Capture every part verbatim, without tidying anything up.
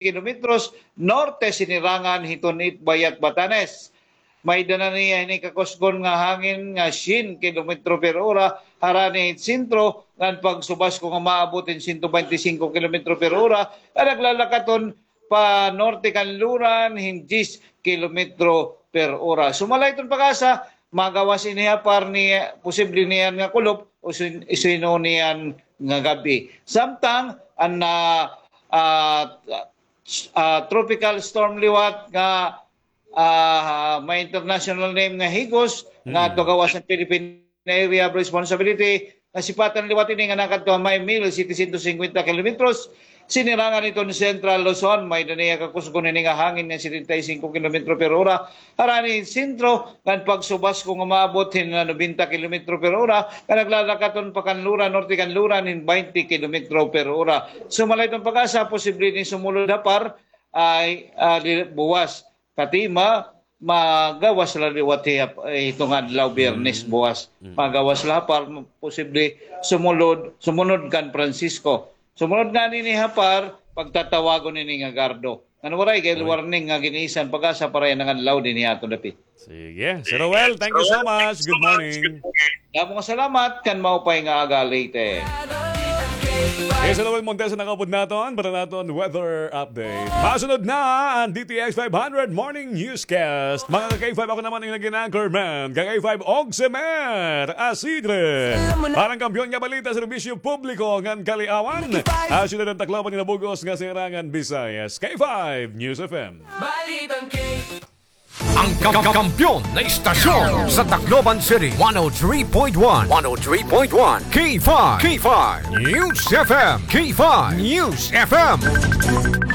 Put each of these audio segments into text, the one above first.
kilometros norte, Sinirangan hiton Itbayat, Batanes. May dana niya hini kakusgon nga hangin nga syen kilometro per ora, harani hit sentro, ngan pagsubasko nga maabot hin sento baynte singko kilometro per ora, nga naglalakaton pa norte kanluran hin diyes kilometro per ora. Sumala hiton PAGASA, magawas ini ha par ni posible niyan nga kulop o sin-, sino niyan nga gab-i. Samtang an, ah, ah, ah, tropical storm liwat nga, ah, may international name nga Higos, nga ato gawas han Philippine Area of Responsibility, nasipatan liwat ini nga nakadto ha may mil setecientos singkwenta kilometros, Sinirangan hiton Central Luzon, may-ada niya kakusgon ini nga hangin nga setenta y cinco kilometro per ora, harani hin sentro, ngan pagsubasko nga maabot hin nobenta kilometro per ora, nga naglalakaton pa kanluran, norte kanluran, hin baynte kilometro per ora. Sumala hiton PAGASA, posible ini sumulod ha par, ay, ah, di, buwas. Katima, magawas la liwat hiya, eh, hiton adlaw, Biyernes, buwas. Magawas la ha par, posible sumulod, sumunod kan Francisco. Sumunod ngani ini ha par, pagtatawagon ini nga gardo. Ngan waray kay warning nga gin-isan PAGASA para yana nga adlaw dinhi ha aton dapit. Sige. Sir Roel, thank you so much. Good morning. Damo nga salamat, kan maupay nga aga, Leyte. Yes, Sir Roel Montesa nakaupod naton para naton weather update. Masunod na an D T X five hundred Morning Newscast. Mga ka-K five, ako naman an naging anchorman, ka-K five, Ogsemer Asidre. Para han kampiyon nga balita, serbisyo publiko ngan kaliawan. Asunod an Tacloban ngan Bug-os nga Silangan, Visayas. K five News F M. Balitang K. Ang ka-, ka-, kampiyon na istasyon sa Tacloban City, one oh three point one, one oh three point one, K five, K five News F M, K five News F M.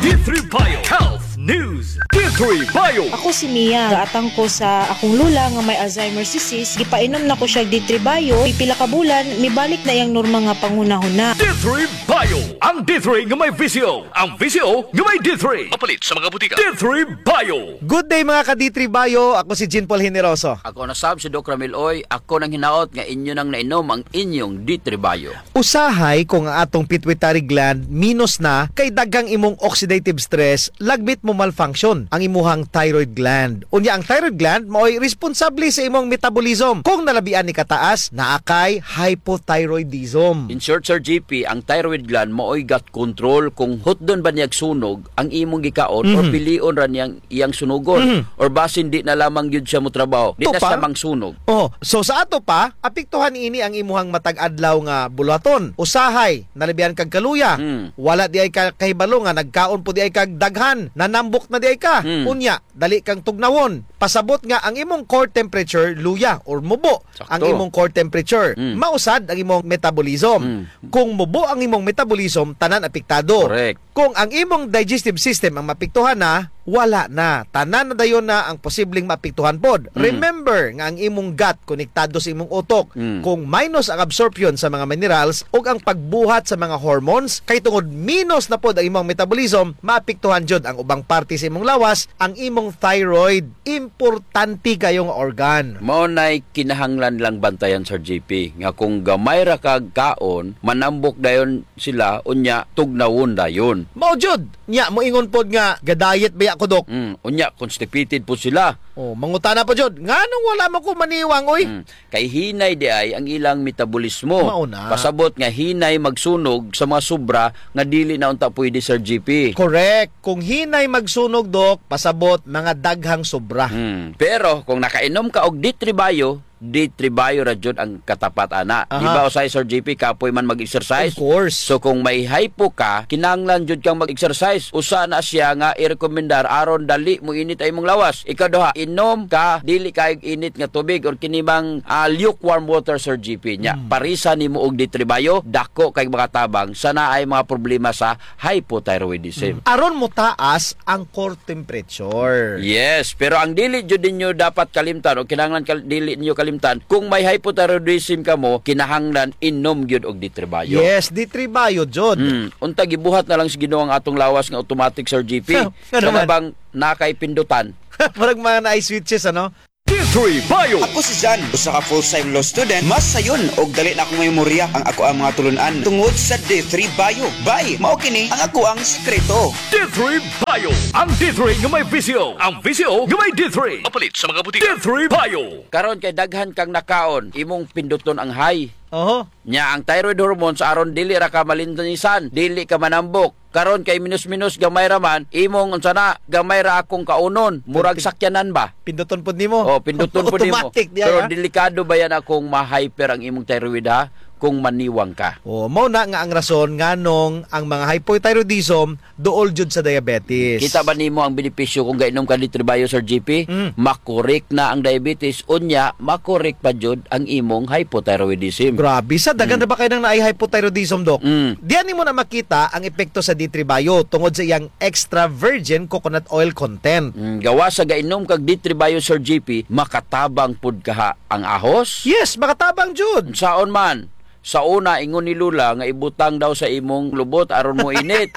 D three Bio Health News. D three Bio. Ako si Mia. Gaatang ko sa akong lola nga may Alzheimer's disease. Gipainom na ko siya D three Bio. Pipila ka bulan, mibalik na iyang normal nga panghunahuna. D three Bio. Ang D three nga may V C O. Ang V C O nga may D three. Mapalit sa mga butika. D three Bio. Good day, mga ka-D three Bio. Ako si Jean Paul Generoso. Ako na sab si Doc Ramil Oy. Ako nang hinaot nga inyo nang nainom ang inyong D three Bio. Usahay kung ang atong pituitary gland minus na, kay daghang imong oxidative stress, lagmit mo malfunction ang imuhang thyroid gland. Unya, ang thyroid gland maoy responsable sa imong metabolism. Kung nalabian ni kataas, naa kay hypothyroidism. In short, Sir G P, ang thyroid gland maoy gut control kung hutdon ba niyag sunog ang imong gikaon or pilion ra niyang iyang sunugon, or basin di na lamang gyud siya motrabaho, di na siya mangsunog. Oh, so sa ato pa, apektuhan ini ang imuhang matag adlaw nga buluhaton. Usahay, nalabihan kag kaluya. Wala di ay ka kahibalo nga nagkaon po di ay kag daghan, nanambok na di ay ka. Unya, dali kang tugnawon. Pasabot nga ang imong core temperature luya or mubo ang imong core temperature. Mausad ang imong metabolism. Kung mubo ang imong metabolism, tanan apektado. Correct. Kung ang imong digestive system ang maapektuhan na, wala na. Tanan na dayon na ang posibleng maapektuhan pod. Remember nga ang imong gut konektado sa imong utok. Kung minus ang absorption sa mga minerals ug ang pagbuhat sa mga hormones, kay tungod minus na pod ang imong metabolism, maapektuhan jud ang ubang parte sa imong lawas, ang imong thyroid. Importante kayo nga organ. Mao nay kinahanglan lang bantayan, Sir G P, nga kung gamay ra kag kaon, manambok dayon sila, unya tugnawon dayon. Mao jud. Nya, moingon pod nga, "Ga-diet baya ko, Dok." Mm, unya, constipated pod sila. Oh, mangutana pa jud, "Nganong wala man ko maniwang, oy?" Mm, kay hinay di ay ang ilang metabolismo. Mao na. Pasabot nga hinay magsunog sa mga sobra nga dili na unta pwede, Sir G P. Correct. Kung hinay magsunog, Dok, pasabot mga daghang sobra. Mm, pero kung nakainom ka og D three Bio, D three Bio ra jud ang katapat ana. Aha. Di ba, usahay, Sir G P, kapoy man mag-exercise? Of course. So, kung may hypo ka, kinahanglan jud kang mag-exercise. Usa na siya nga irekomendar aron dali moinit ang imong lawas. Ikaduha, inom ka dili kaayo init nga tubig or kini mang, ah, lukewarm water, Sir G P. Nya, mm, parisa nimo og D three Bio, dako kay makatabang sa naay mga problema sa hypothyroidism. Mm. Aron motaas ang core temperature. Yes, pero ang dili jud ninyo dapat kalimtan o kinahanglan kal-, dili ninyo kalimtan, kung may hypothyroidism kamo, kinahanglan inom gyud og D three Bio. Yes, D three Bio jud. Mm. Unta gibuhat na lang sa Ginoo ang atong lawas nga automatic, Sir G P. Nga naman. Kana bang naa kay pindutan? Murag mga naay switches, ano? D Three Bio. Ako si Jan, usa ka full-time law student. Mas sayon og dali na akong memorya ang akoang mga tulun-an tungod sa D three Bio. Bay, mao kini ang akoang sikreto. D three Bio. Ang D three nga may V C O. Ang V C O nga may D three. Mapalit sa mga butika. D three Bio. Karon kay daghan kang nakaon, imong pinduton ang high. Oho. Nya ang thyroid hormones aron dili ra ka malintisan, dili ka manambok. Karon kay minus-minus, gamay ra man, imong unsa na, gamay ra akong kaunon, murag sakyanan ba? Pinduton pud nimo. Oh, pinduton pud nimo. Automatic diha. Pero delikado ba yana kung ma-hyper ang imong thyroid, ha? Kung maniwang ka. Oh, mao na nga ang rason nganong ang mga hypothyroidism duol jud sa diabetes. Kita ba nimo ang benepisyo kung gainom ka D three Bio, Sir G P? Mm. Makorek na ang diabetes, unya makorek pa jud ang imong hypothyroidism. Grabe, sa daghan ra ba kay nang naay hypothyroidism, Doc? Mm. Diyan nimo na makita ang epekto sa D three Bio tungod sa iyang extra virgin coconut oil content. Mm, gawas sa gainom kag D three Bio, Sir G P, makatabang pud kaha ang ahos? Yes, makatabang jud. Saon man? Sa una, ingon ni Lola nga ibutang daw sa imong lubot aron moinit.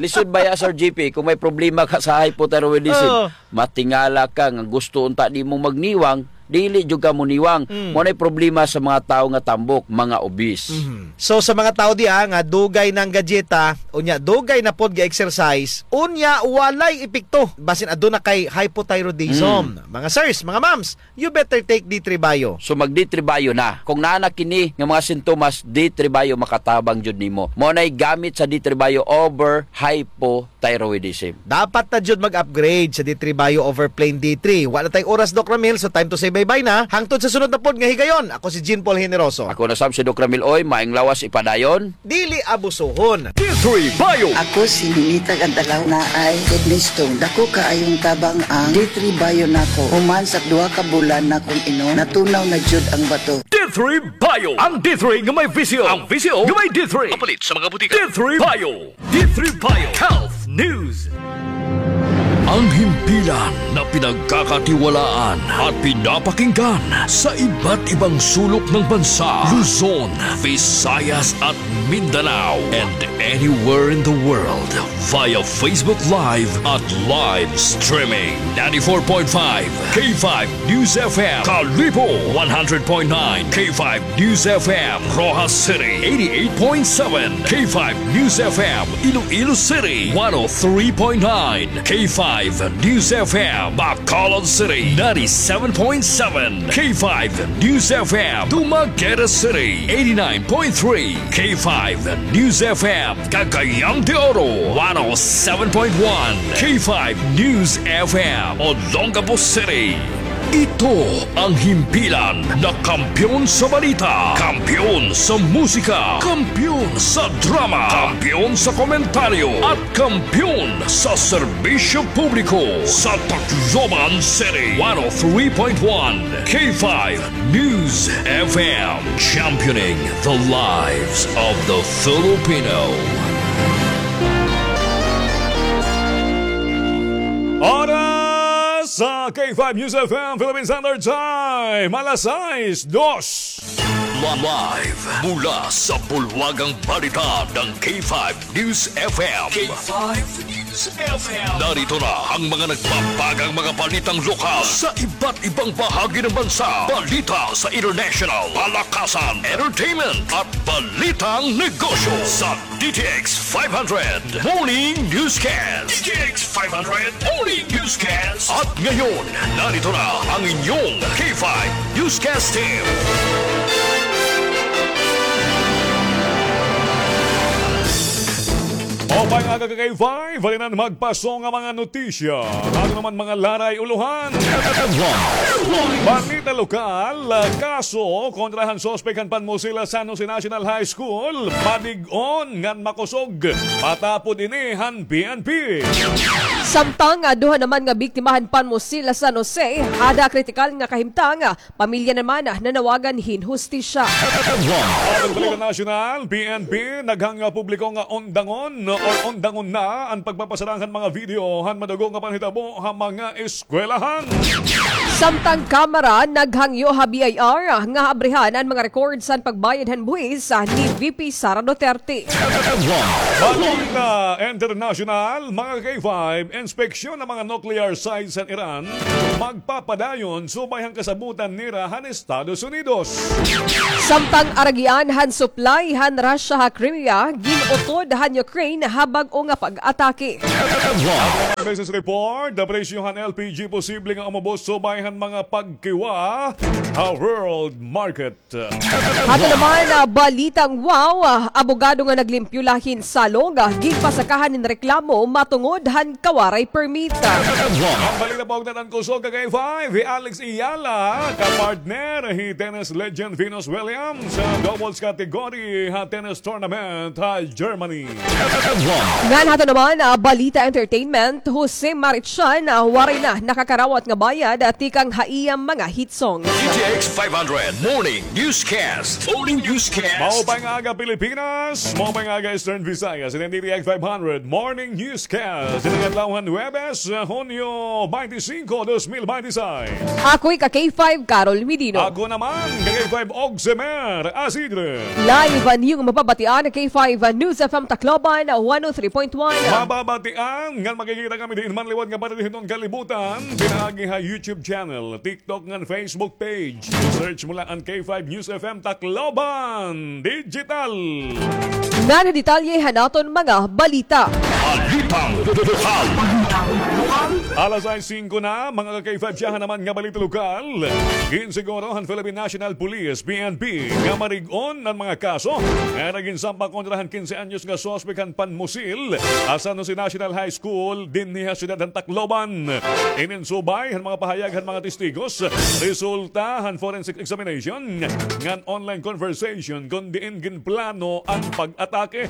Lisod baya, Sir G P, kung may problema ka sa hypothyroidism, oo, matingala ka nga gusto unta nimo magniwang, dili jud ka moniwang. Mm. Mao nay problema sa mga tawo nga tambok, mga obese. Mhm. So, sa mga tawo diha nga dugay nang gadyeta, unya dugay na pod ga-exercise, unya walay epekto. Basin aduna kay hypothyroidism. Mm. Mga sirs, mga ma'ams, you better take D three Bio. So mag D three Bio na. Kung naa na kini nga mga sintomas, D three Bio makatabang jud nimo. Mao nay gamit sa D three Bio over hypothyroidism. Dapat na jud mag-upgrade sa D three Bio over plain D three. Wa na tay oras, Doc Ramil, so time to say bye-bye na. Hangtod sa sunod na pod nga higayon, ako si Jean Paul Generoso. Ako na sab si Doc Ramil Oy, maayong lawas ipadayon. Dili abusohon. D three Bio. Ako si Ninita Gantalaw, naay kidney stone. Dako kaayong tabang ang D three Bio nako. Human sa duha ka bulan nakong inom, natunaw na jud ang bato. D three Bio. Ang D three nga may V C O. Ang V C O nga may D three. Mapalit sa mga butika. D three Bio. D three Bio Health News. Ang himpilan na pinagkakatiwalaan at pinapakinggan sa iba't ibang sulok ng bansa, Luzon, Visayas at Mindanao, and anywhere in the world via Facebook Live at live streaming. Ninety-four point five K five News F M, Kalibo, one hundred point nine K five News F M, Roxas City, eighty-eight point seven K five News F M, Iloilo City, one oh three point nine K five News F M, Bacolod City, ninety-seven point seven K five News F M, Dumaguete City, eighty-nine point three K five News F M, Cagayan de Oro, one oh seven point one K five News F M, Olongapo City. Ito ang himpilan na kampiyon sa balita, kampiyon sa musika, kampiyon sa drama, kampiyon sa komentaryo, at kampiyon sa serbisyo publiko sa Tacloban City. One oh three point one K five News F M, championing the lives of the Filipino. Oras sa K five News F M Philippine Standard Time, alas sais dos. Live mula sa bulwagang balita ng K five News F M. K five News F M. Narito na ang mga nagbabagang mga balitang lokal sa iba't ibang bahagi ng bansa. Balita sa international, palakasan, entertainment, at balitang negosyo sa D T X five hundred Morning Newscast. D T X five hundred Morning Newscast. At ngayon, narito na ang inyong K five Newscast Team. Maupay nga aga, K five, halinan magpaso nga mga notisya. Bago naman mga laray ulohan. Balita lokal, kaso kontra han suspek han panmusil ha San Jose National High School, padig-on ngan makusog. Matapod ini han P N P. Samtang, ah, duha naman nga biktima han panmusil ha San Jose, ada kritikal nga kahimtang, ah, pamilya naman, ah, nanawagan hin hustisya. Aton Balita Nasyonal, P N P, naghangyo ha publiko nga undangon Undangon na an pagpapasarang han mga video han madugo nga panhitabo ha mga eskwelahan. Samtang Kamara naghangyo ha B I R nga abrihan an mga records han pagbayad han buhis ni V P Sara Duterte. Balita international, mga K five, inspeksyon han mga nuclear sites han Iran magpapadayon subay han kasabotan nira han Estados Unidos. Samtang aragian han supply han Russia ha Crimea, gin-utod han Ukraine ha bag-o nga pag-atake. Business report, the presyo han L P G posible nga umubos subay han mga pagkiwa ha world market. Ato naman, ah, balitang wow, ah, abogado nga naglimpyo la hin salog, ah, ginpasakahan hin reklamo matungod han kawaray permit. An balita pa ugnayan han kusog, ka K five, hi Alex Eala, kapartner hi tennis legend Venus Williams ha doubles category ha tennis tournament ha Germany. Ngan ato naman, ah, balita entertainment, Jose Marichan, ah, waray na nakakarawat nga bayad, ah, tikang ha iya mga hit songs. G T X five hundred Morning Newscast. Morning Newscast. Maupay nga aga, Pilipinas. Maupay nga aga, Eastern Visayas. Ini an G T X five hundred Morning Newscast. Ini nga adlaw han Huwebes, ah, Hunyo twenty-five, dos mil twenty-six. Ako'y ka K five, Carol Medino. Ako naman, ka K five, Ogsemer Asidre. Live an iyong mababatian, K five News F M Tacloban, one oh three point one. Mababatian ngan makikita kami diin man liwat nga parte hiton kalibutan, pinaagi ha YouTube channel, TikTok ngan Facebook page. Search mo la an K five News F M Tacloban Digital. Ngan detalye han aton mga balita. Balitang lokal. Alas sais singko na, mga ka K five, siyahan naman nga balita lokal. Ginsiguro han Philippine National Police, P N P, nga marig-on an mga kaso nga ira ginsampa kontra han kinse anyos nga suspek han panmusil ha San Jose National High School dinhi ha siyudad han Tacloban. Inin subay han mga pahayag han mga testigos, resulta han forensic examination ngan online conversation kon diin ginplano an pag-atake.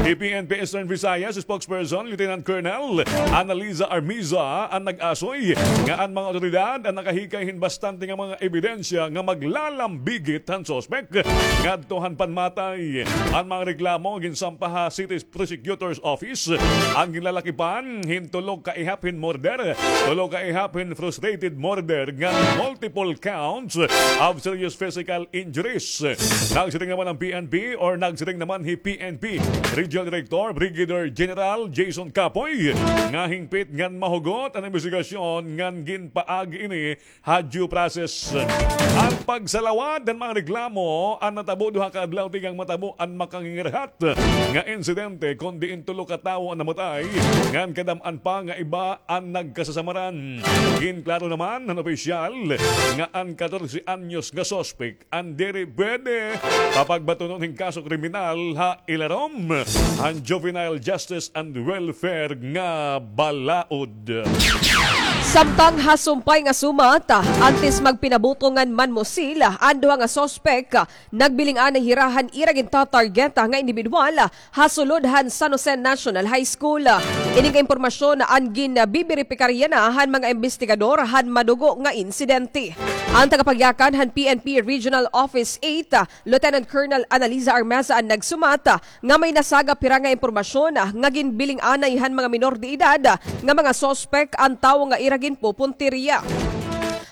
Hi P N P Eastern Visayas spokesperson Lieutenant Colonel Annaliza Armiza an nag-asoy nga an mga awtoridad an nakahikay hin bastante nga mga ebidensya nga maglalambigit han suspek ngadto han panmatay. An mga reklamo ginsampa ha City Prosecutor's Office an ginlalakipan hin tulo ka ihap hin murder, tulo ka ihap hin frustrated murder ngan multiple counts of serious physical injuries. Nagsiring naman an P N P or nagsiring naman hi P N P Regional Director Brigadier General Jason Capoy nga hingpit ngan mahugot an imbestigasyon ngan ginpaagi ini ha due process. An pagsalawad han mga reklamo an natabo duha ka adlaw tikang matabo an makangingirhat nga insidente, kon diin tulo ka tawo an namatay ngan kadam-an pa nga iba an nagkasasamaran. Ginklaro naman han opisyal nga an katorse anyos nga suspek an diri pwede papagbatunon hin kaso kriminal ha ilarom han Juvenile Justice and Welfare nga balaod. Samtang ha sumpay nga sumat, antes magpinabuto ngan manmusil an duha nga suspek, nagbiling-anay hira han ira gintatarget nga indibidwal ha sulod han San Jose National High School. Ini nga impormasyon an ginbiberipikar yana han mga imbestigador han madugo nga insidente. An tagapagyakan han P N P Regional Office eight, Lieutenant Colonel Annaliza Armeza an nagsumat nga may nasagap hira nga impormasyon nga ginbiling-anay han mga minor de edad nga mga suspek an tawo nga ira ginpupuntirya.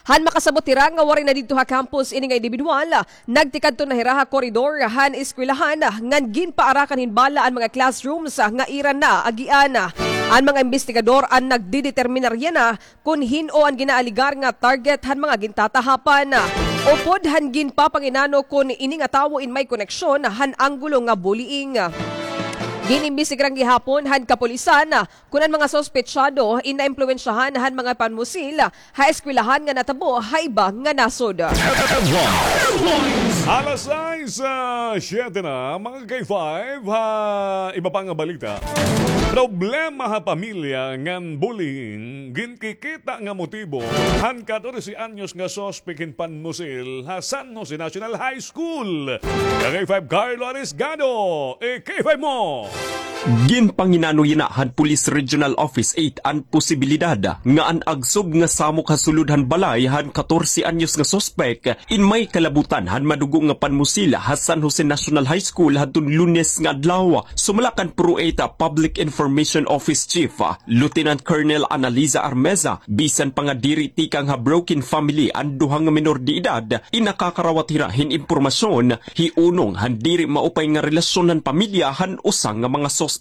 Han makasabot hira nga waray na didto ha campus ini nga indibidwal, nagtikadto na hira ha koridor han eskwelahan ngan ginpaarakan hin bala an mga classrooms nga ira naagian. An mga imbestigador an nagdedeterminar yana kon hin-o an ginaaligar nga target han mga gintatahapan. Upod han ginpapanginano kon ini nga tawo in may koneksyon han anggulo nga bullying. Gin-imbestigaran gihapon han kapulisan kon an mga suspetsado in naimpluwensyahan han mga panmusil ha eskwelahan nga natabo ha iba nga nasod. Alas sais, ah, siyete na, mga K five, ha iba pa nga balita. Problema ha pamilya ngan bullying, ginkikita nga motibo han katorse anyos nga suspek hin panmusil ha San Jose National High School. Ka K five Carlo Arisgado, i-K five mo. Ginpanginano yana han Police Regional Office eight an posibilidad nga an agsob nga samok ha sulod han balay han katorse anyos nga suspek in may kalabutan han madugo nga panmusil ha San Jose National High School hadton Lunes nga adlaw. Sumala kan PRO eight Public Information Office Chief Lieutenant Colonel Annaliza Armeza, bisan pa nga diri tikang ha broken family an duha nga menor de edad, in nakakarawat hira hin impormasyon hi unong han diri maupay nga relasyon han pamilya han usa nga mga suspek.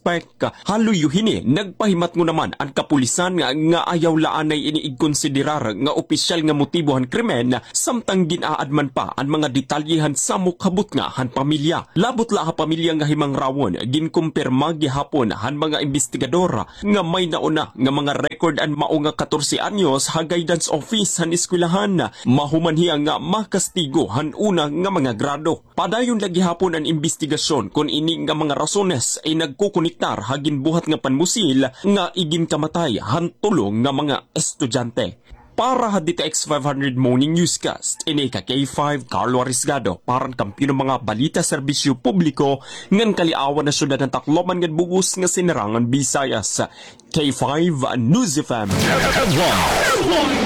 Ha luyo hini, nagpahimatngon naman an kapulisan nga, nga ayaw la anay ini igkonsiderar nga opisyal nga motibo han krimen, samtang gin-aadman pa an mga detalye han samok ha butnga han pamilya. Labot la ha pamilya nga himangrawon, ginkumpirma gihapon han mga imbestigador nga may nauna nga mga record an mao nga katorse anyos ha guidance office han eskwelahan. Mahuman hiya nga makastigo han una nga mga grado. Padayon la gihapon an imbestigasyon kon ini nga mga rasones ay nagkokonektar ha ginbuhat nga panmusil nga iginkamatay han tulo nga mga estudyante. Para ha D T X five hundred Morning Newscast, ini ka K five Carlo Arisgado, para han Kampiyon nga mga Balita, Serbisyo Publiko, ngan Kaliawan ha Syudad han Tacloban ngan bug-os nga Sinirangan Visayas. K five News F M.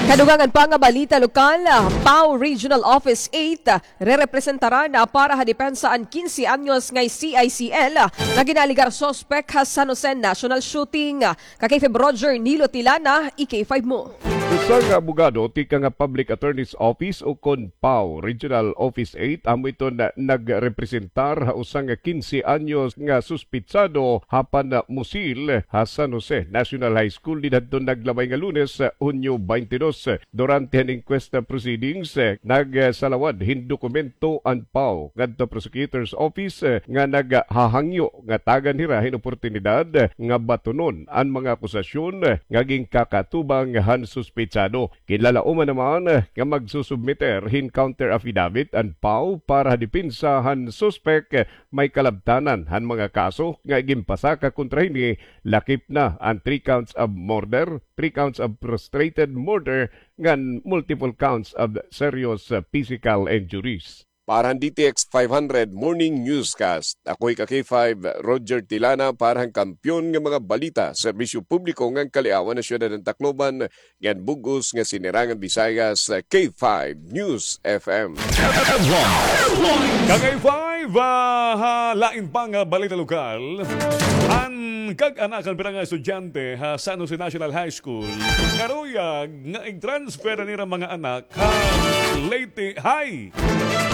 Kadugangan pa nga balita lokal, PAO Regional Office eight, rerepresentaran para ha depensa an kinse anyos nga C I C L nga ginaalegar suspek ha San Jose National Shooting. Ka K five Roger Nilo Tilana, i K five mo. Usa nga abogado tikang ha Public Attorney's Office o kon PAO Regional Office eight, amo iton nagrepresentar ha usa nga kinse anyos nga suspitsado ha panmusil ha San Jose National High School didto hadton naglabay nga Lunes, Hunyo twenty-two. Durante han inquest proceedings, nagsalawad hin dokumento an PAO ngadto ha prosecutor's office nga naghahangyo nga tagan hira hin oportunidad nga batunon an mga akusasyon nga ginkakatubang han suspitsado. Ginlalauman naman nga magsusubmiter hin counter affidavit an PAO para ha depensa han suspek. May kalabtanan han mga kaso nga iginpasaka kontra hini, lakip na an three counts of murder, three counts of frustrated murder, ngan multiple counts of serious physical injuries. Para han D T X five hundred Morning Newscast, ako hi ka K five Roger Tilana para han Kampiyon nga mga Balita, Serbisyo Publiko ngan Kaliawan ha Syudad han Tacloban, ngan bug-os nga Sinirangan Visayas, K five News F M. Ka K five, ah, ha lain pa nga balita lokal, an kag-anak han pira nga estudyante ha San Jose National High School karuyag nga ig-transfer an ira mga anak ha Leyte High.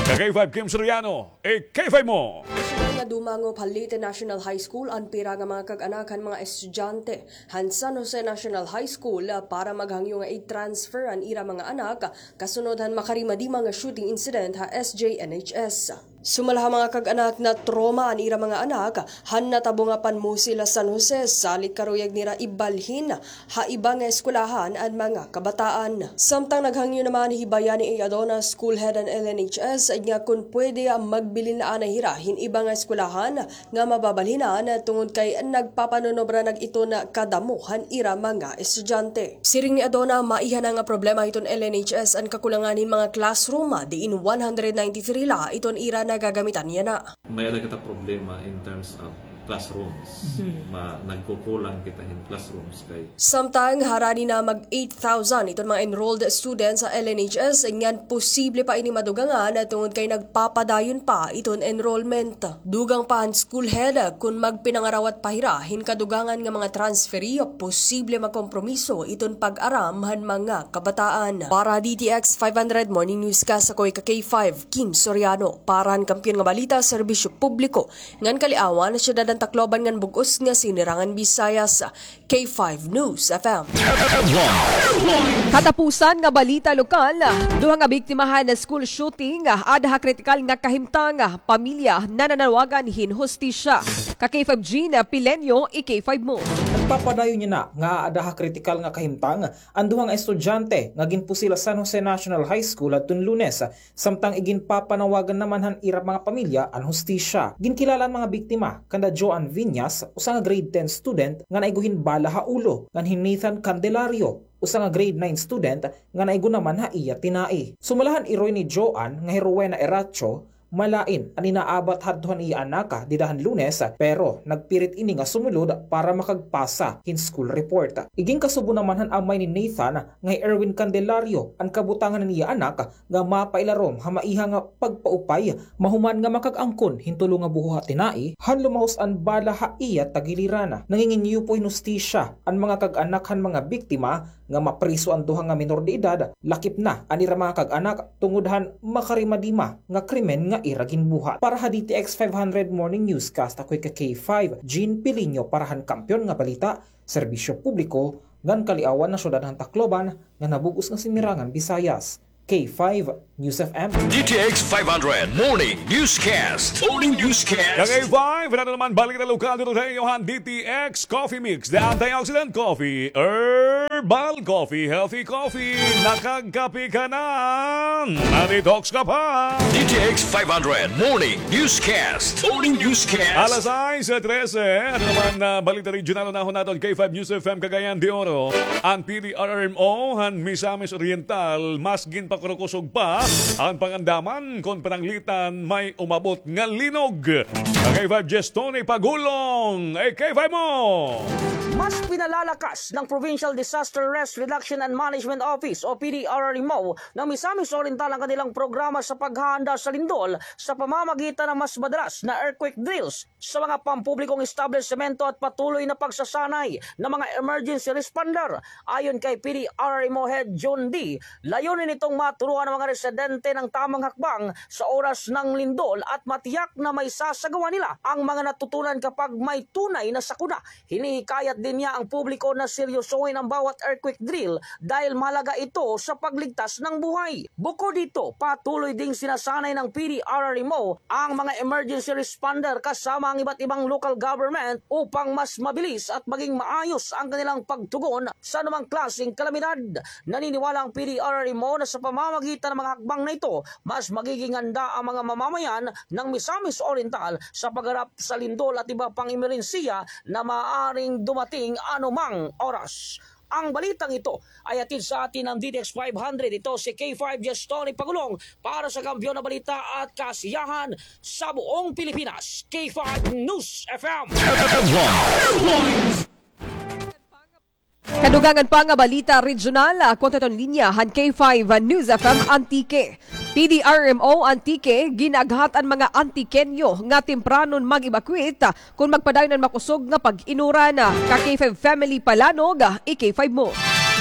Ka K five Kim Soriano, i K five mo. Sunod nga dumangop ha Leyte National High School an pira nga mga kag-anak han mga estudyante han San Jose National High School para maghangyo nga i-transfer an ira mga anak kasunod han makarimadima nga shooting incident ha S J N H S. Sumala ha mga kag-anak, na-trauma an ira mga anak han natabo nga panmusil ha San Jose, salit karuyag nira ibalhin ha iba nga eskwelahan an mga kabataan. Samtang naghangyo naman hi Bayani A. Adona, school head han L N H S, nga kon pwede, magbilin la anay hira hin iba nga eskwelahan nga mababalhinan tungod kay nagpapanunobra nag iton kadamo han ira mga estudyante. Siring ni Adona, maiha na nga problema hiton L N H S an kakulangan hin mga classroom, diin one hundred ninety-three la iton ira nagagamitan yana. May-ada kita problema in terms of classrooms. Mhm. Ma-, nagkukulang kita hin classrooms kay Samtang harani na mag eight thousand iton mga enrolled students ha L N H S, ngan posible pa ini madugangan tungod kay nagpapadayon pa iton enrollment. Dugang pa han school head, kon magpinangarawat pa hira hin kadugangan nga mga transferee, posible makompromiso iton pag-aram han mga kabataan. Para D T X five hundred Morning Newscast, ako hi ka K five, Kim Soriano, para han Kampiyon nga Balita, Serbisyo Publiko, ngan Kaliawan ha Syudad han Tacloban ngan bug-os nga Sinirangan Visayas, K five News F M. Katapusan nga balita lokal, duha nga biktima han school shooting, ada ha kritikal nga kahimtang, pamilya nananawagan hin hustisya. Ka K five Jean Pileño, i K five mo. Nagpapadayon yana nga ada ha kritikal nga kahimtang an duha nga estudyante nga ginpusil ha San Jose National High School hadton Lunes, samtang iginpapanawagan naman han ira mga pamilya an hustisya. Ginkilala an mga biktima kanda Joan Viñas, usa nga grade ten student nga naigo hin bala ha ulo, ngan hi Nathan Candelario, usa nga grade nine student nga naigo naman ha iya tinai. Sumala han iroy ni Joan nga hi Rowena Eracho, Malain an inaabat hadto han iya anak dida han Lunes, pero nagpirit ini nga sumulod para makagpasa hin school report. Igin kasubo naman han amay ni Nathan nga hi Erwin Candelario an kabutangan han iya anak nga mapailarom ha maiha nga pagpaupay mahuman nga makag-angkon hin tulo nga buho ha tinai han lumahos an bala ha iya tagiliran. Nanginginyupo hin hustisya an mga kag-anak han mga biktima nga mapriso an duha nga minor de edad, lakip na an ira mga kag-anak tungod han makarimadima nga krimen nga ira ginbuhat. Para ha D T X five hundred Morning Newscast, ako hi K five, Jean Piliño para han Kampiyon nga Balita, Serbisyo Publiko, ngan Kaliawan na Syudad han Tacloban, nga nabug-os nga Sinirangan Visayas. K five News F M. D T X five hundred Morning Newscast. Morning Newscast. Kag K five, wala na naman balita lokal dito sa iyo han D T X Coffee Mix. The antioxidant coffee, herbal coffee, healthy coffee. Nakagkape ka na. Na-detox ka pa. D T X five hundred Morning Newscast. Morning Newscast. Alas sais trese. Ano naman na balita regional na naton K five News F M Cagayan de Oro? An P D R R M O han Misamis Oriental mas ginpakurukusog pa an pangandaman kon pananglitan may umabot nga linog. K five Jestoni Pagulong, eh, K five mo! Mas pinalalakas ng Provincial Disaster Risk Reduction and Management Office o P D R R M O ng Misamis Oriental ang kanilang programa sa paghahanda sa lindol sa pamamagitan ng mas madalas na earthquake drills sa mga pampublikong establisemento at patuloy na pagsasanay ng mga emergency responder. Ayon kay P D R R M O Head John D, layunin nitong maturuan ang mga residente ng tamang hakbang sa oras ng lindol at matiyak na maisasagawa nila ang mga natutunan kapag may tunay na sakuna. Hinihikayat din niya ang publiko na seryosohin ang bawat earthquake drill dahil mahalaga ito sa pagligtas ng buhay. Bukod dito, patuloy ding sinasanay ng P D R R M O ang mga emergency responder kasama ang iba't ibang local government upang mas mabilis at maging maayos ang kanilang pagtugon sa anumang klaseng kalamidad. Naniniwala ang P D R R M O na sa pamamagitan ng mga hakbang na ito, mas magiging handa ang mga mamamayan ng Misamis Oriental sa pagharap sa lindol at iba pang emerhensiya na maaaring dumating anumang oras. Ang balitang ito ay hatid sa atin ng D T X five hundred. Ito si K five Jestoni Pagulong para sa Kampiyon na Balita at Kasiyahan sa buong Pilipinas. K five News F M. Kadugangan pa nga balita regional, ako naton linya han K five News F M Antique. P D R M O Antique, gin-aghat an mga Antiqueño nga tempranon mag-evacuate kon magpadayon an makusog nga pag-inuran. Ka K five Family Palanog, i-K five mo.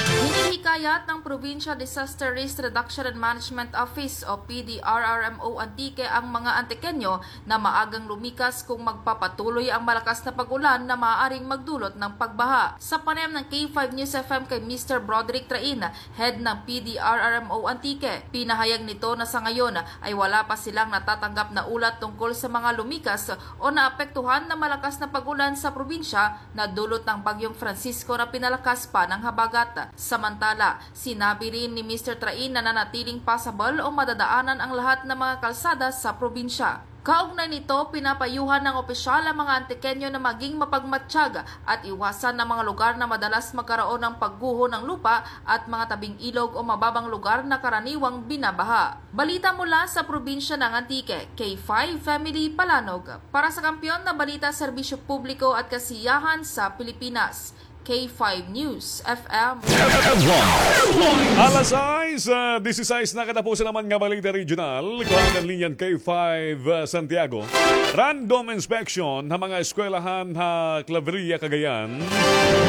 Hinihikayat ng Provincial Disaster Risk Reduction and Management Office o P D R R M O Antique ang mga Antiqueño na maagang lumikas kung magpapatuloy ang malakas na pag-ulan na maaaring magdulot ng pagbaha. Sa panayam ng K five News F M kay Mister Broderick Train, head ng P D R R M O Antique, pinahayag nito na sa ngayon ay wala pa silang natatanggap na ulat tungkol sa mga lumikas o naapektuhan ng malakas na pag-ulan sa probinsya na dulot ng Bagyong Francisco na pinalakas pa ng habagat. Samantala, sinabi rin ni Mister Train na nanatiling passable o madadaanan ang lahat ng mga kalsada sa probinsya. Kaugnay nito, pinapayuhan ng opisyal ang mga Antiqueño na maging mapagmatsyag at iwasan ang mga lugar na madalas magkaroon ng pagguho ng lupa at mga tabing ilog o mababang lugar na karaniwang binabaha. Balita mula sa probinsya ng Antique, K five Family Palanog. Para sa Kampiyon na Balita, Serbisyo Publiko at Kasiyahan sa Pilipinas, K five News F M. Alas sais, ah, disisais na, katapusan naman nga balita regional. Kuha an linya han K five, ah, Santiago. Random inspection ha mga eskwelahan ha Claveria, Cagayan.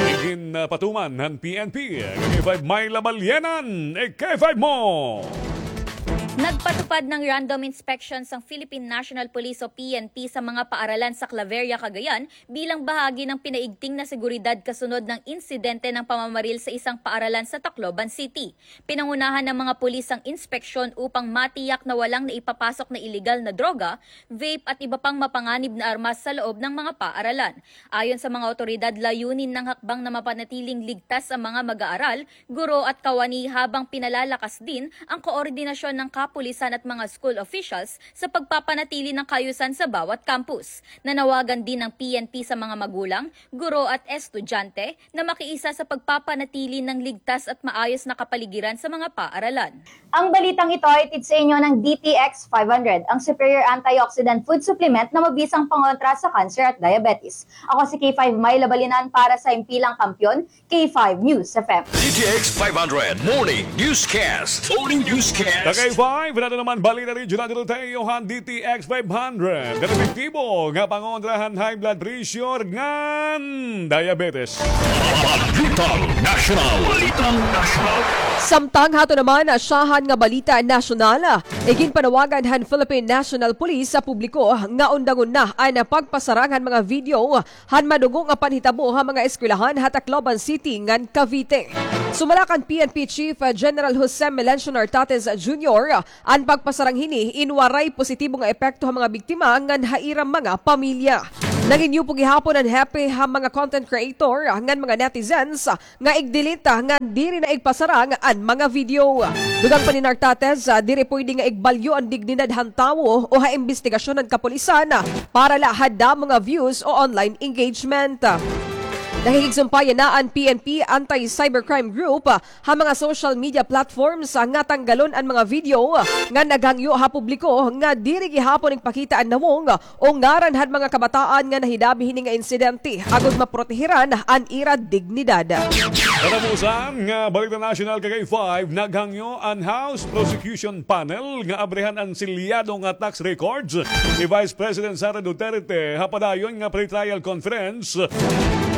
Igin, ah, patuman han P N P. K five Myla Balyenan, eh, K five mo. Nagpatupad ng random inspections ang Philippine National Police o P N P sa mga paaralan sa Claveria, Cagayan, bilang bahagi ng pinaigting na seguridad kasunod ng insidente ng pamamaril sa isang paaralan sa Tacloban City. Pinangunahan ng mga pulis ang inspeksyon upang matiyak na walang naipapasok na iligal na droga, vape at iba pang mapanganib na armas sa loob ng mga paaralan. Ayon sa mga awtoridad, layunin ng hakbang na mapanatiling ligtas ang mga mag-aaral, guro at kawani habang pinalalakas din ang koordinasyon ng kapulisan at mga school officials sa pagpapanatili ng kaayusan sa bawat campus. Nanawagan din ang P N P sa mga magulang, guro at estudyante na makiisa sa pagpapanatili ng ligtas at maayos na kapaligiran sa mga paaralan. Ang balitang ito ay hatid sa inyo ng D T X five hundred, ang superior antioxidant food supplement na mabisang pangontra sa cancer at diabetes. Ako si K five Myla Balinan para sa Himpilang Kampiyon, K five News F M. D T X five hundred Morning Newscast. Morning Newscast. Ka K five, nato naman balita regional dito tayo han D T X five hundred. Kan epektibo nga pangontra han high blood pressure ngan diabetes. Balitang National. Balitang National. Samtang hato naman, syahan nga balita nasyonal, iginpanawagan han Philippine National Police sa publiko nga undangon na an pagpasarang han mga video han madugo nga panhitabo ha mga eskwelahan ha Tacloban City ngan Cavite. Sumala kan P N P Chief General Jose Melencio Nartates Junior, an pagpasarang hini in waray positibo nga epekto ha mga biktima ngan ha ira mga pamilya. Nanginuyop gihapon an hepe ha mga content creator ngan mga netizens nga igdelete ngan diri na igpasarang an mga video. Dugang pa ni Nartates, ah, diri pwede nga igbalyo an dignidad han tawo o ha imbestigasyon han kapulisan, ah, para la ha damo nga views o online engagement. Nakikigsumpay na an P N P Anti-Cybercrime Group, ah, ha mga social media platforms, ah, nga tanggalon an mga video, ah, nga naghangyo ha publiko nga diri gihapon igpakita an nawong o ngaran han mga kabataan nga nahidabi hini nga insidente agod maprotehiran an ira dignidad. Katapusan nga balita nasyonal, ka K five, naghangyo an House Prosecution Panel nga abrihan an selyado nga tax records ni Vice President Sara Duterte ha padayon nga pretrial conference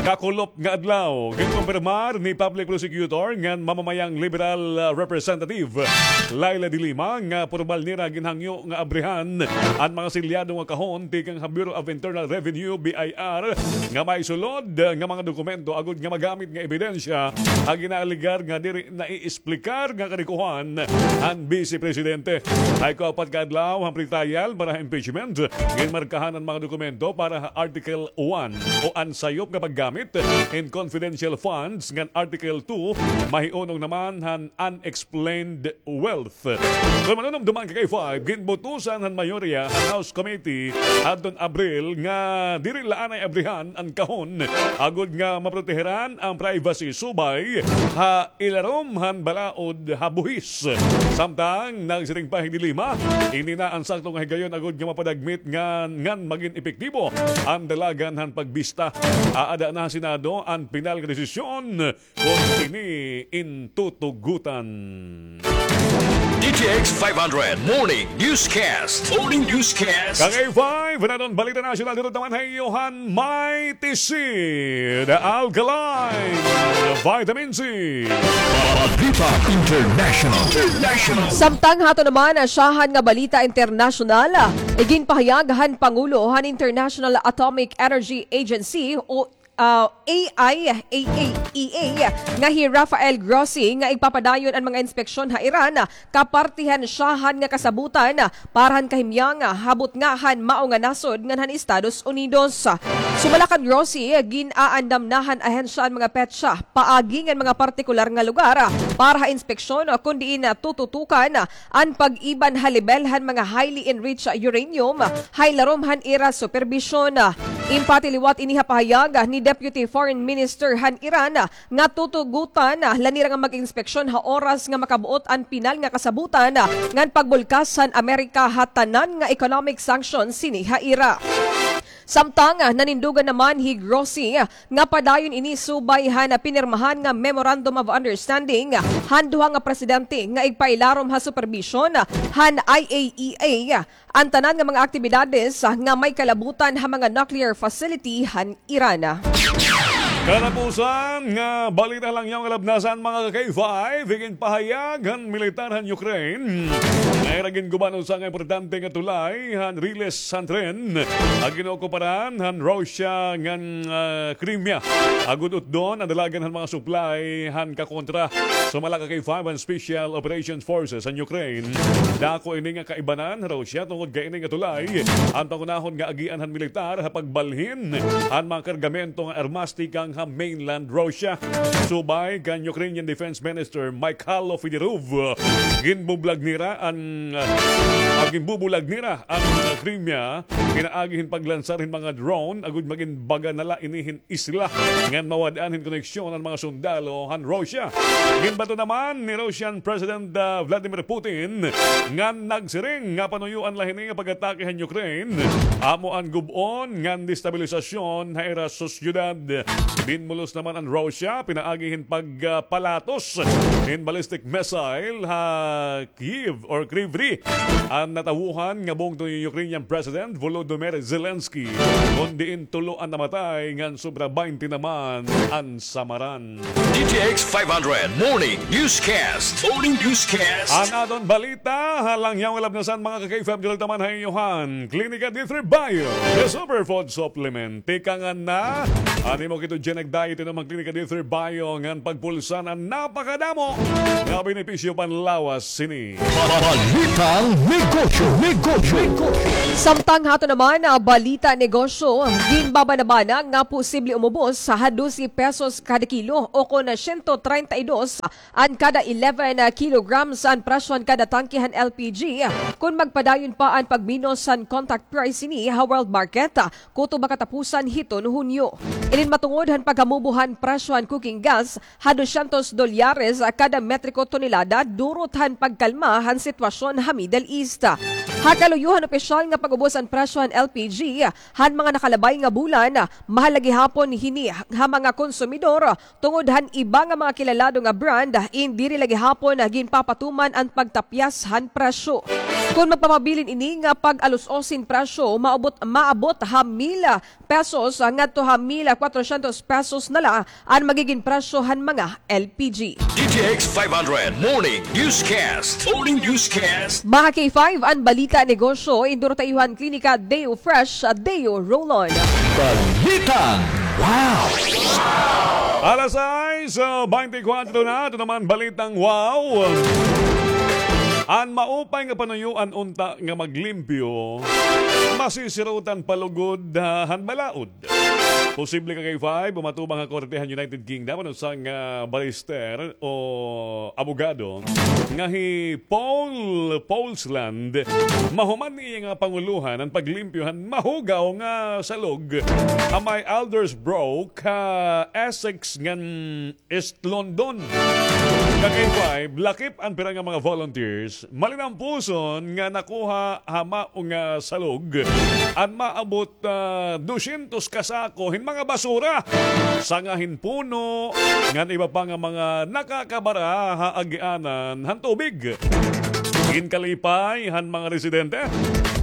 kakulop nga adlaw. Ginkumpirmar ni Public Prosecutor ngan mamamayang Liberal, ah, Representative Leila de Lima nga pormal nira ginhangyo nga abrihan an mga selyado nga kahon tikang ha Bureau of Internal Revenue, B I R, nga may sulod nga mga dokumento agod nga magamit nga ebidensya ha ginaalegar nga diri naiesplikar nga karikohan han Bise Presidente. Hay kaupat ka adlaw han pretrial para ha impeachment, ginmarkahan an mga dokumento para ha Article one o an sayop nga paggamit hin confidential funds ngan Article two, mahiunong naman han unexplained wealth. Kon manunumdoman, ka K five, ginbutusan han mayorya han House Committee hadton Abril nga diri la anay abrihan an kahon agod nga maprotehiran an privacy subay ha ilarom han balaod ha buhis. Samtang nagsiring pa hi de Lima, ini na an sakto nga higayon agod nga mapadagmit ngan, ngan magin epektibo an dalagan han pagbista. Aada na ha Senado an pinal nga desisyon kon ini in tutugutan. D T X five hundred Morning Newscast. Morning Newscast. Ka K five, naton balita nasyonal dito naman ha iyo han Mighty Seed Alkaline Vitamin C. Balita International. International. Samtang hato naman, syahan nga balita internasyonal, iginpahayag han Pangulo han International Atomic Energy Agency o ah, A I A E A nga hi Rafael Grossi nga igpapadayon an mga inspeksyon ha Iran, kaparti han syahan nga kasabutan para han kahimyang ha butnga han mao nga nasod ngan han Estados Unidos. Sumala kan Grossi, gin-aandam na han ahensya an mga petsa paagi ngan mga partikular nga lugar para ha inspeksyon kon diin tututukan an pag-iban ha lebel han mga highly enriched uranium ha ilarom han ira superbisyon. Impati liwat ini ha pahayag ni Deputy Foreign Minister han Iran nga tutugutan la nira nga mag-inspeksyon ha oras nga makabuot an pinal nga kasabutan ngan pagbulkas han Amerika ha tanan nga economic sanctions sini ha ira. Samtang nanindugan naman hi Grossi nga padayon ini subay han pinirmahan nga Memorandum of Understanding han duha nga presidente nga igpailarom ha superbisyon han I A E A an tanan nga mga aktibidades nga may kalabutan ha mga nuclear facility han Iran. Katapusan nga balita la niyan nga labnasan, mga ka K five, iginpahayag han militar han Ukraine nga ira ginguba an usa nga importante nga tulay han riles han tren nga gin-ookuparan han Russia ngan, ah, Crimea agod utdon an dalagan han mga supply han kakontra. Sumala ka K five an Special Operations Forces han Ukraine, dako ini nga kaibanan ha Russia tungod kay ini nga tulay an pangunahon nga agian han militar ha pagbalhin han mga kargamento nga armas tikang mainland Russia. Subay kan Ukrainian Defense Minister Mykhailo Fedorov, ginbubulag nira an, ah, ginbubulag nira an Crimea pinaagi hin paglansar hin mga drone agod magin baga na la ini hin isla ngan mawad-an hin koneksyon an mga sundalo han Russia. Ginbato naman ni Russian President, ah, Vladimir Putin ngan nagsiring nga panuyoan la hini nga pag-atake han Ukraine amo an gub-on ngan destabilisasyon ha ira sosyedad. Binmulos naman an Russia pinaagi hin pagpalatos hin ballistic missile ha Kyiv or Kryvyi an natawohan nga bungto ni Ukrainian President Volodymyr Zelensky, kon diin tulo an namatay ngan sobra baynte naman an samaran. D T X five hundred Morning Newscast. Morning Newscast. An aton balita ha Langyaw nga Labnasan, mga ka-K five, direkta man ha iyo han Klinika D three Bio, the superfood supplement. Tikangan na an imo ketogenic diet, inom an Klinika D three Bio ngan pagpulsan an napakadamo nga benepisyo panlawas sini. Balitang Negosyo, Negosyo, Negosyo. Samtang ha aton naman, ah, balita negosyo, ginbabanabana nga posible umubos ha dose pesos kada kilo o kon siyento treinta y dos an kada eleven kilograms an presyo han kada tangke han L P G kon magpadayon pa an pagminos han contract price hini ha world market kutob ha katapusan hiton Hunyo. Inin matungod han pagkamubo han presyo han cooking gas ha dosyentos dolyares kada metriko tonelada durot han pagkalma han sitwasyon ha Middle East. Ha kaluyo han opisyal nga pag-ubos han presyo han L P G han mga nakalabay nga bulan, mahal la gihapon hini ha mga konsumidor tungod han iba nga mga kilalado nga brand in diri la gihapon ginpapatuman an pagtapyas han presyo. Kon magpamabilin ini nga pag-alos-os hin presyo, maabot, maabot ha mil pesos ngadto ha mil kwatrosyentos pesos na la an magigin presyo han mga L P G. D T X five hundred Morning Newscast. Morning Newscast. Mga K five, an balita negosyo, induro ta iyo han Klinika Deo Fresh, Deo Roll-On. Balitang Wow! Alas sais, ah, baynte kwatro na, aton naman balitang wow. An maupay nga panuyoan unta nga maglimpyo, masisirutan pa lugod, ah, han balaod. Posible ka, K five, umatubang ha korte han United Kingdom an usa nga barrister o abogado nga hi Paul Polsland. Mahuman niya nga pangulohan an paglimpyo han mahugaw nga salog ha may Aldersbrook, ha Essex ngan East London. Ka-K five, lakip an pira nga mga volunteers, malinampuson nga nakuha ha mao nga salog an maabot, ah, dosyentos ka sako hin mga basura, sanga hin puno, ngan iba pa nga mga nakakabara ha agianan han tubig. Ginkalipay han mga residente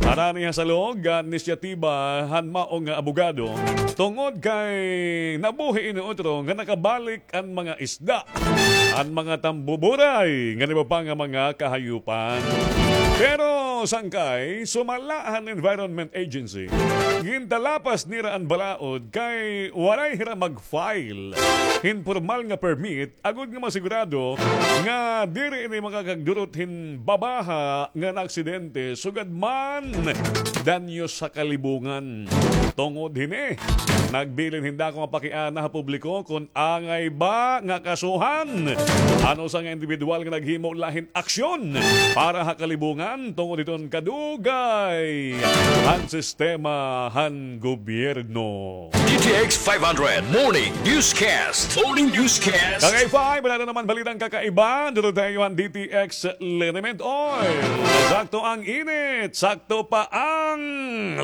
harani ha salog an inisyatiba han mao nga abogado, tungod kay nabuhi ini utro nga nakabalik an mga isda, an mga tambuburay, ngan iba pa nga mga kahayupan. Pero sangkay, sumala han Environment Agency, gintalapas nira an balaod kay waray hira mag-file hin pormal nga permit agod nga masigurado nga diri ini makakagdurot hin babaha nga aksidente sugad man danyos ha kalibungan. Tungod hini, nagbilin hin dako nga pakiana ha publiko kon angay ba nga kasuhan an usa nga indibidwal nga naghimo la hin aksyon para ha kalibungan tungod hiton kadugay han sistema han gobyerno. D T X five hundred Morning Newscast. Morning Newscast. Kagay five, wala na naman balitang kakaiba. Duro tayo an D T X Liniment Oil. Sakto ang init, sakto pa ang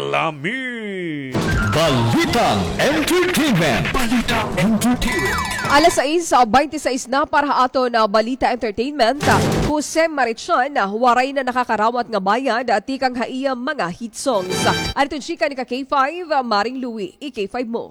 lami. Balitang Entertainment. Balitang Entertainment. Alas sais, ah, baynte sais na para ha aton, ah, Balita Entertainment. Jose Marichan, ah, waray na nakakarawat nga bayad, ah, tikang ha iya mga hit songs. Adto chika ni ka K five, ah, Maring Louie, i-K five mo.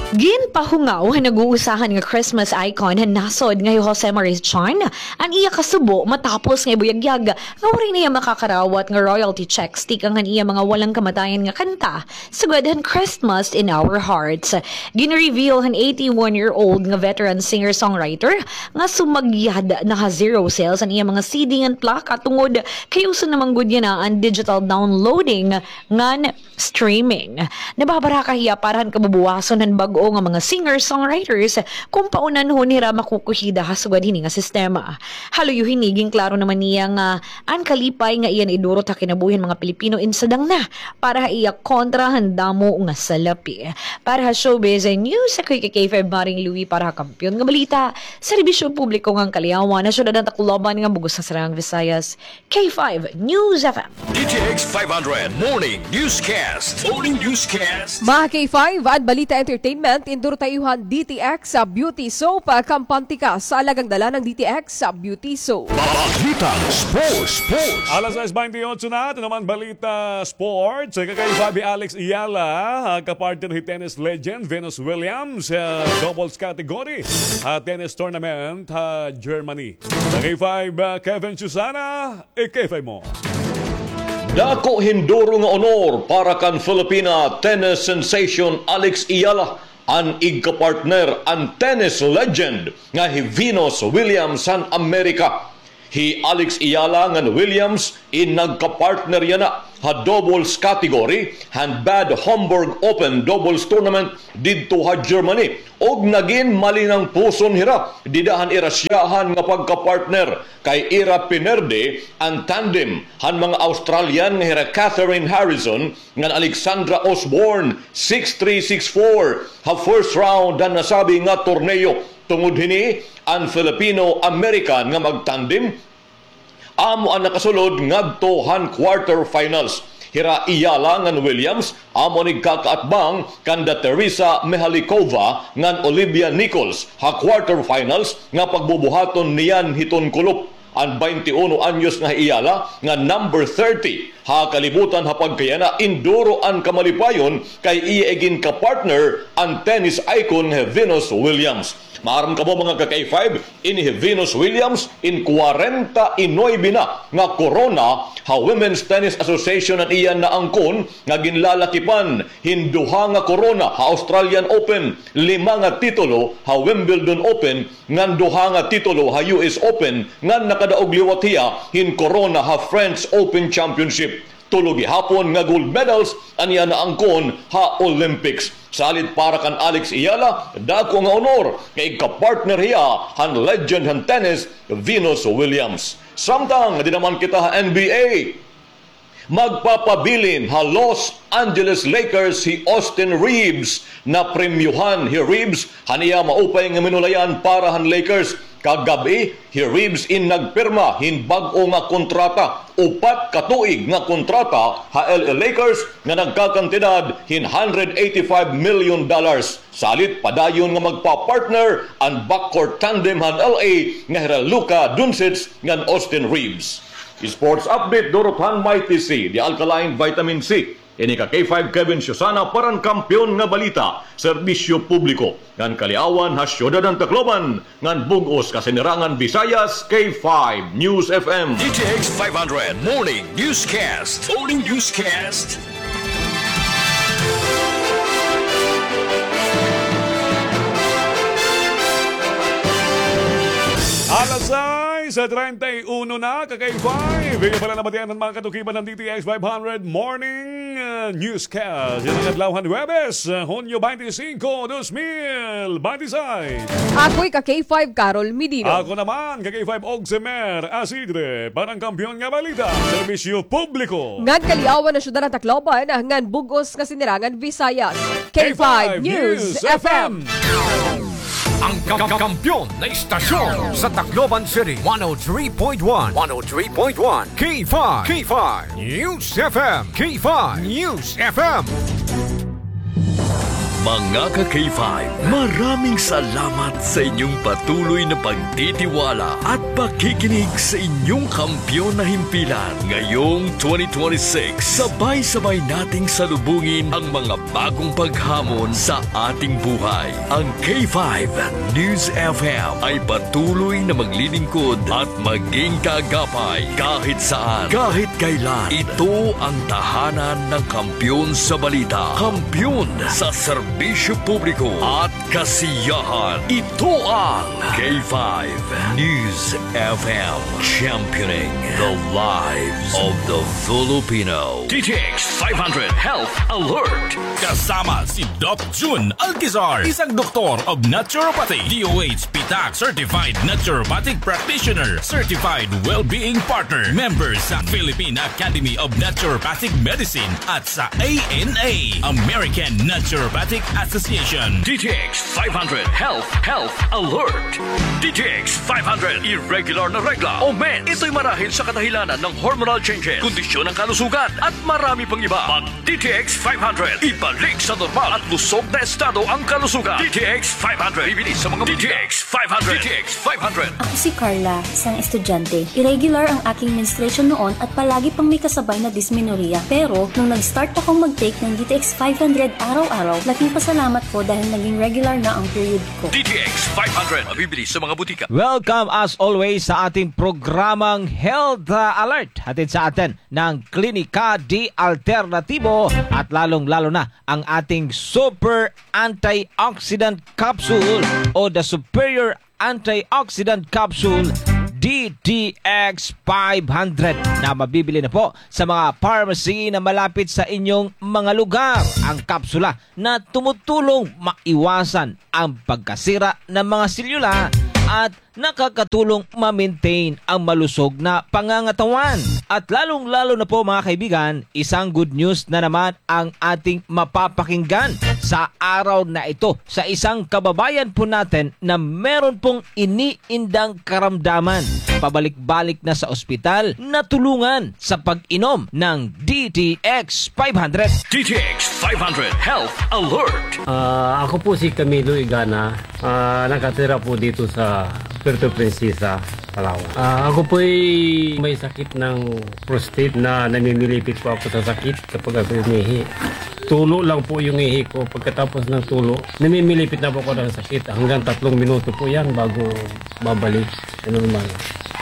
Ginpahungaw han nag-uusahan nga Christmas icon han nasod nga hi Jose Marichan an iya kasubo matapos nga ibuyagyag nga waray na iya makakarawat nga royalty checks tikang han iya mga walang kamatayan nga kanta sugad han Christmas in Our Hearts. Gin-reveal han eighty-one-year-old nga veteran singer-songwriter nga sumagyad na ha zero sales an iya mga C D ngan plaka tungod kay uso na man gud yana an digital downloading ngan streaming. Nababaraka hiya para han kabubuwason han bag-o o nga mga singer-songwriters kon paunanhon hira makukuhida ha sugad hini nga sistema. Ha luyo hini, ginklaro naman niya nga an kalipay nga iya naidurot ha kinabuhi han mga Pilipino in sadang na para ha iya kontra han damo nga salapi. Para ha showbiz news, ako hi K five Maring Louie para ha Kampiyon nga Balita, serbisyo publiko ngan kaliawan ha syudad han Tacloban ngan bug-os nga Sinirangan Visayas. K five News F M. D T X five hundred Morning Newscast. Morning Newscast. Mga K five, an balita, entertainment, indurot ha iyo han D T X Beauty Soap, ah, kampante ka sa alagang dala ng D T X Beauty Soap. Balitang sports, sports. Alas sais baynte otso na, ito naman balita sports. Kay Fabi Alex Ayala, ah, kapartner hi tennis legend Venus Williams, ah, doubles category, ah, tennis tournament, ah, Germany. K five, ah, Kevin Susana, eh, K five mo. Dako hin duro nga honor para kan Filipina tennis sensation Alex Ayala, an igkapartner an tennis legend nga hi Venus Williams han Amerika. Hi Alex Ayala ngan Williams in nagkapartner yana ha doubles category han Bad Homburg Open Doubles Tournament didto ha Germany. Ug nagin malinangpuson hira dida han ira syahan nga pagkapartner, kay ira pinerde an tandem han mga Australian nga hira Catherine Harrison ngan Alexandra Osborne, six three, six four. Ha first round han nasabi nga torneo. Tungod hini, an Filipino-American nga magtandem amo an nakasulod ngadto han quarterfinals. Hira Ayala ngan Williams amo an igkakaatbang kanda Teresa Mihalikova ngan Olivia Nichols ha quarterfinals nga pagbubuhaton niyan hiton kulop. An baynte uno anyos nga hi Ayala nga number thirty ha kalibutan ha pagkayana, induro an kamalipayon kay iya iginkapartner an tennis icon nga hi Venus Williams. Maaram kamo, mga ka-K five, ini hi Venus Williams in kwarenta y nuebe na nga korona ha Women's Tennis Association an iya naangkon, nga ginlalakipan hin duha nga korona ha Australian Open, lima nga titulo ha Wimbledon Open, ngan duha nga titulo ha U S Open, ngan nakadaog liwat hiya hin korona ha French Open Championship. Tulo gihapon nga gold medals an iya naangkon ha Olympics. Salit para kan Alex Ayala, dako nga honor kay igkapartner hiya han legend han tennis, Venus Williams. Samtang dida naman kita ha N B A, magpapabilin ha Los Angeles Lakers hi Austin Reaves. Napremyohan hi Reaves han iya maupay nga minulayan para han Lakers. Kagab-i, hi Reaves in nagpirma hin bag-o nga kontrata, upat ka tuig nga kontrata ha L A Lakers nga nagkakantidad hin hundred eighty-five million dollars. Salit padayon nga magpa-partner an backcourt tandem han L A nga hira Luka Doncic ngan Austin Reaves. Sports update durot han Mighty C, The Alkaline Vitamin C. Ini ka K five Kevin Susana para han Kampiyon nga Balita, serbisyo publiko ngan kaliawan ha syudad han Tacloban ngan bug-os nga Sinirangan Visayas, K five News F M. D T X five hundred Morning Newscast. Morning Newscast. Alas sais treinta y uno na, ka-K five. Inyo pala nabatian an mga katukiban ng D T X five hundred Morning, uh, Newscast. Yana nga adlaw han Huwebes, uh, Hunyo twenty-five, dos mil twenty-six. Ako hi ka-K five, Carol Medino. Ako naman, ka-K five Oximer Asidre, para han Kampiyon nga Balita, serbisyo publiko ngan kaliawan ha syudad han Tacloban ngan bug-os nga Sinirangan Visayas, K five News F M. Ang ka-, ka-, kampiyon na istasyon sa Tacloban City, one oh three point one, one oh three point one, K five, K five News F M, K five News F M. Mga ka-K five, maraming salamat sa inyong patuloy na pagtitiwala at pakikinig sa inyong kampiyon na himpilan. Ngayong twenty twenty-six, sabay-sabay nating salubungin ang mga bagong paghamon sa ating buhay. Ang K five News F M ay patuloy na maglilingkod at maging kaagapay kahit saan, kahit kailan. Ito ang tahanan ng kampiyon sa balita, kampiyon sa serbisyo. Serbisyo publiko at kasiyahan. Ito ang K five News F M, championing the lives of the Filipino. D T X five hundred Health Alert. Kasama si Doc Jun Alcazar, isang doktor of naturopathy, D O H P tax certified naturopathic practitioner, certified well-being partner, member sa Philippine Academy of Naturopathic Medicine at sa A N A, American Naturopathic Association. D T X five hundred Health, Health Alert. D T X five hundred, irregular na regla o mens. Ito'y marahil sa kadahilanan ng hormonal changes, kondisyon ng kalusugan, at marami pang iba. Mag D T X five hundred, ibalik sa normal at lusog na estado ang kalusugan. D T X five hundred, bibili sa mga D T X five hundred. D T X five hundred. Ako si Carla, isang estudyante. Irregular ang aking menstruation noon at palagi pang may kasabay na dysmenorrhea. Pero, nung nag-start akong mag-take ng D T X five hundred araw-araw, laking pasalamat ko dahil naging regular na ang period ko. D T X five hundred, mabibili sa mga butika. Welcome as always sa ating programang Health, ah, Alert. Hatid sa atin ng Klinika de Alternatibo at lalong-lalo na ang ating Super Antioxidant Capsule o the Superior Antioxidant Capsule D T X five hundred na mabibili na po sa mga pharmacy na malapit sa inyong mga lugar. Ang kapsula na tumutulong maiwasan ang pagkasira ng mga selula at nakakatulong ma-maintain ang malusog na pangangatawan. At lalong-lalo na po, mga kaibigan, isang good news na naman ang ating mapapakinggan sa araw na ito sa isang kababayan po natin na meron pong iniindang karamdaman. Pabalik-balik na sa ospital, natulungan sa pag-inom ng D T X five hundred. D T X five hundred Health Alert. Ah, ako po si Camilo Igana. Ah, nakatira po dito sa Puerto Princesa, Palawan. Ah, ako po'y may sakit ng prostate na namimilipit po ako sa sakit kapag ako umihi. Tulo lang po yung ihi ko. Pagkatapos ng tulo, namimilipit na po ako ng sakit. Hanggang tatlong minuto po yan bago babalik sa normal.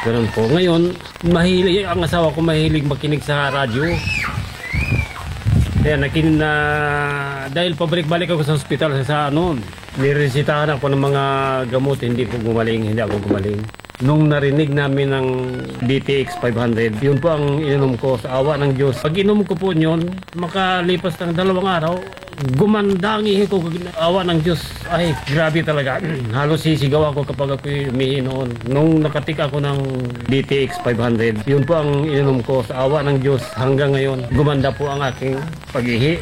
Ganun po. Ngayon, mahilig, ang asawa ko mahilig makinig sa radyo. Kaya nakin-, na, dahil pabalik-balik ako sa ospital sa, sa ano, niresitahan ako ng mga gamot, hindi po gumaling, hindi ako gumaling. Nung narinig namin ang D T X five hundred, yun po ang ininom ko sa awa ng Diyos. Pag inom ko po yun, makalipas ng dalawang araw, gumanda ang ihi ko, awa ng Diyos. Ay, grabe talaga. Halos sisigaw ako kapag ako'y umihi noon. Nung nakatik ako ng D T X five hundred, yun po ang ininom ko sa awa ng Diyos. Hanggang ngayon, gumanda po ang aking pag-ihi.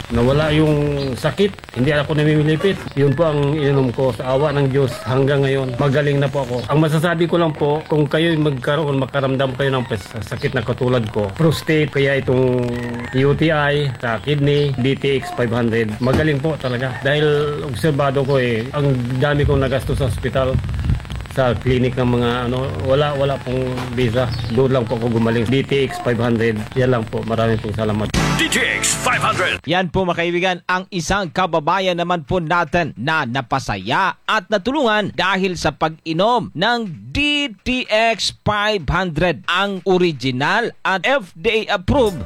Nawala yung sakit. Hindi ako namimilipit. Yun po ang ininom ko sa awa ng Diyos hanggang ngayon. Magaling na po ako. Ang masasabi ko lang po, kung kayo'y magkaroon, makaramdam kayo ng pes-, sakit na katulad ko, prostate, kaya itong U T I, sa kidney, D T X five hundred, magaling po talaga. Dahil obserbado ko eh, ang dami kong nagastos sa ospital, sa clinic ng mga ano, wala, wala pong visa. Doon lang po ako gumaling. D T X five hundred, yan lang po. Marami pong salamat. D T X five hundred. Yan po, mga kaibigan, ang isang kababayan naman po natin na napasaya at natulungan dahil sa pag-inom ng D T X five hundred, ang original at F D A approved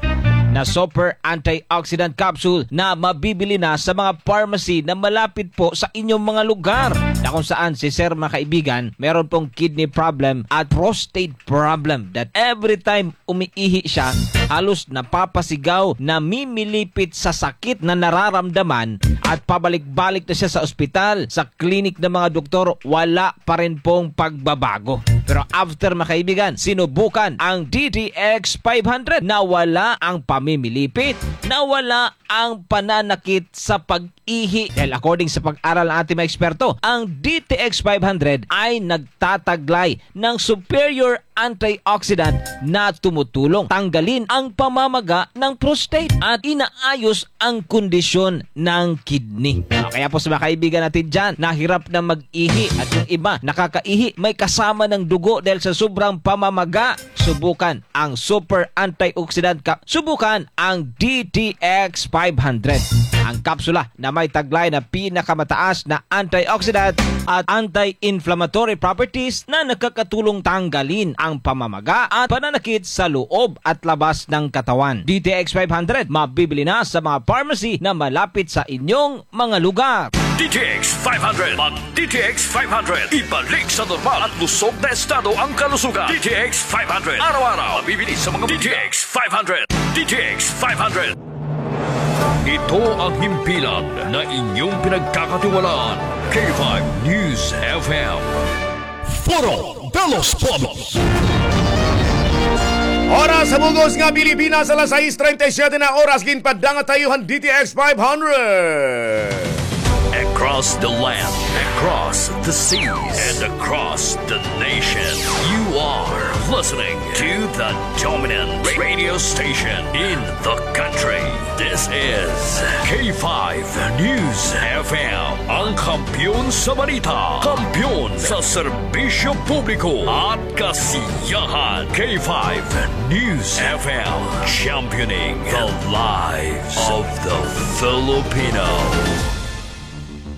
na super antioxidant capsule na mabibili na sa mga pharmacy na malapit po sa inyong mga lugar, na kung saan si Sir, mga kaibigan, meron pong kidney problem at prostate problem that every time umiihi siya, halos napapasigaw, namimilipit sa sakit na nararamdaman at pabalik-balik na siya sa ospital, sa clinic ng mga doktor, wala pa rin pong pagbabago. Pero after, mga kaibigan, sinubukan ang D T X five hundred, nawala ang pamimilipit, nawala ang pananakit sa pag-ihi. Dahil according sa pag-aral ng ating mga eksperto, ang D T X five hundred ay nagtataglay ng superior antioxidant na tumutulong tanggalin ang pamamaga ng prostate at inaayos ang kondisyon ng kidney. Kaya po sa mga kaibigan natin dyan, nahirap na mag-ihi at yung iba nakakaihi, may kasama ng dugo dahil sa sobrang pamamaga, subukan ang super antioxidant ka, subukan ang D T X five hundred. Ang kapsula na may taglay na pinakamataas na antioxidant at anti-inflammatory properties na nakakatulong tanggalin ang pamamaga at pananakit sa loob at labas ng katawan. D T X five hundred, mabibili na sa mga pharmacy na malapit sa inyong mga lugar. D T X five hundred. Mag D T X five hundred. Ibalik sa normal at lusog na estado ang kalusugan. D T X five hundred. Araw-araw. Mabibili sa mga D T X five hundred. D T X five hundred. Ito ang himpilan na inyong pinagkakatiwalaan. K five News F M. Foro de los Pueblos. Oras ha bug-os nga Pilipinas, alas sais treinta y siete na oras, ginpadangat ha iyo han D T X five hundred. Across the land, across the seas, and across the nation, you are listening to the dominant radio station in the country. This is K five News F M, ang kampiyon sa balita, kampiyon sa serbisyo publiko at kasiyahan. K five News F M, championing the lives of the Filipino.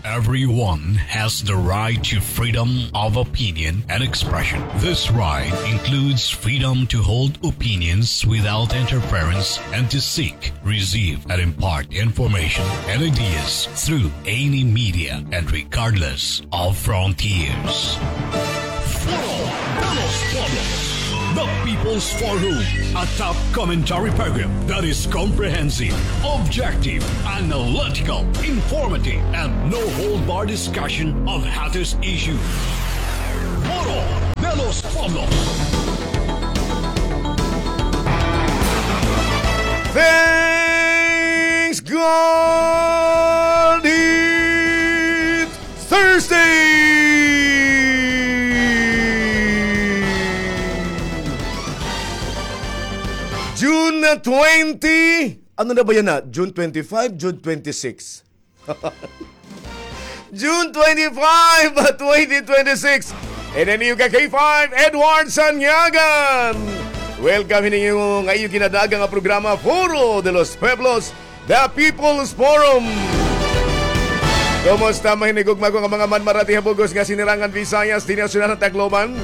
Everyone has the right to freedom of opinion and expression. This right includes freedom to hold opinions without interference and to seek, receive, and impart information and ideas through any media and regardless of frontiers. Foro de los Pueblos, the People's Forum, a top commentary program that is comprehensive, objective, analytical, informative, and no-hold-bar discussion of hottest issues. Foro de los Pueblos. Thanks God, it's Thursday! June twenty, ano na ba yan na? June twenty-five, June twenty-six. June twenty-five, twenty twenty-six. And then you ka K five, Edward Sanyagan. Welcome hini nga iyo ginadaaga nga programa, Foro de los Pueblos, The People's Forum. Kumusta, mahinigugma ko nga mga manmarati ha bug-os nga Sinirangan Visayas, dinhi ha syudad han Tacloban.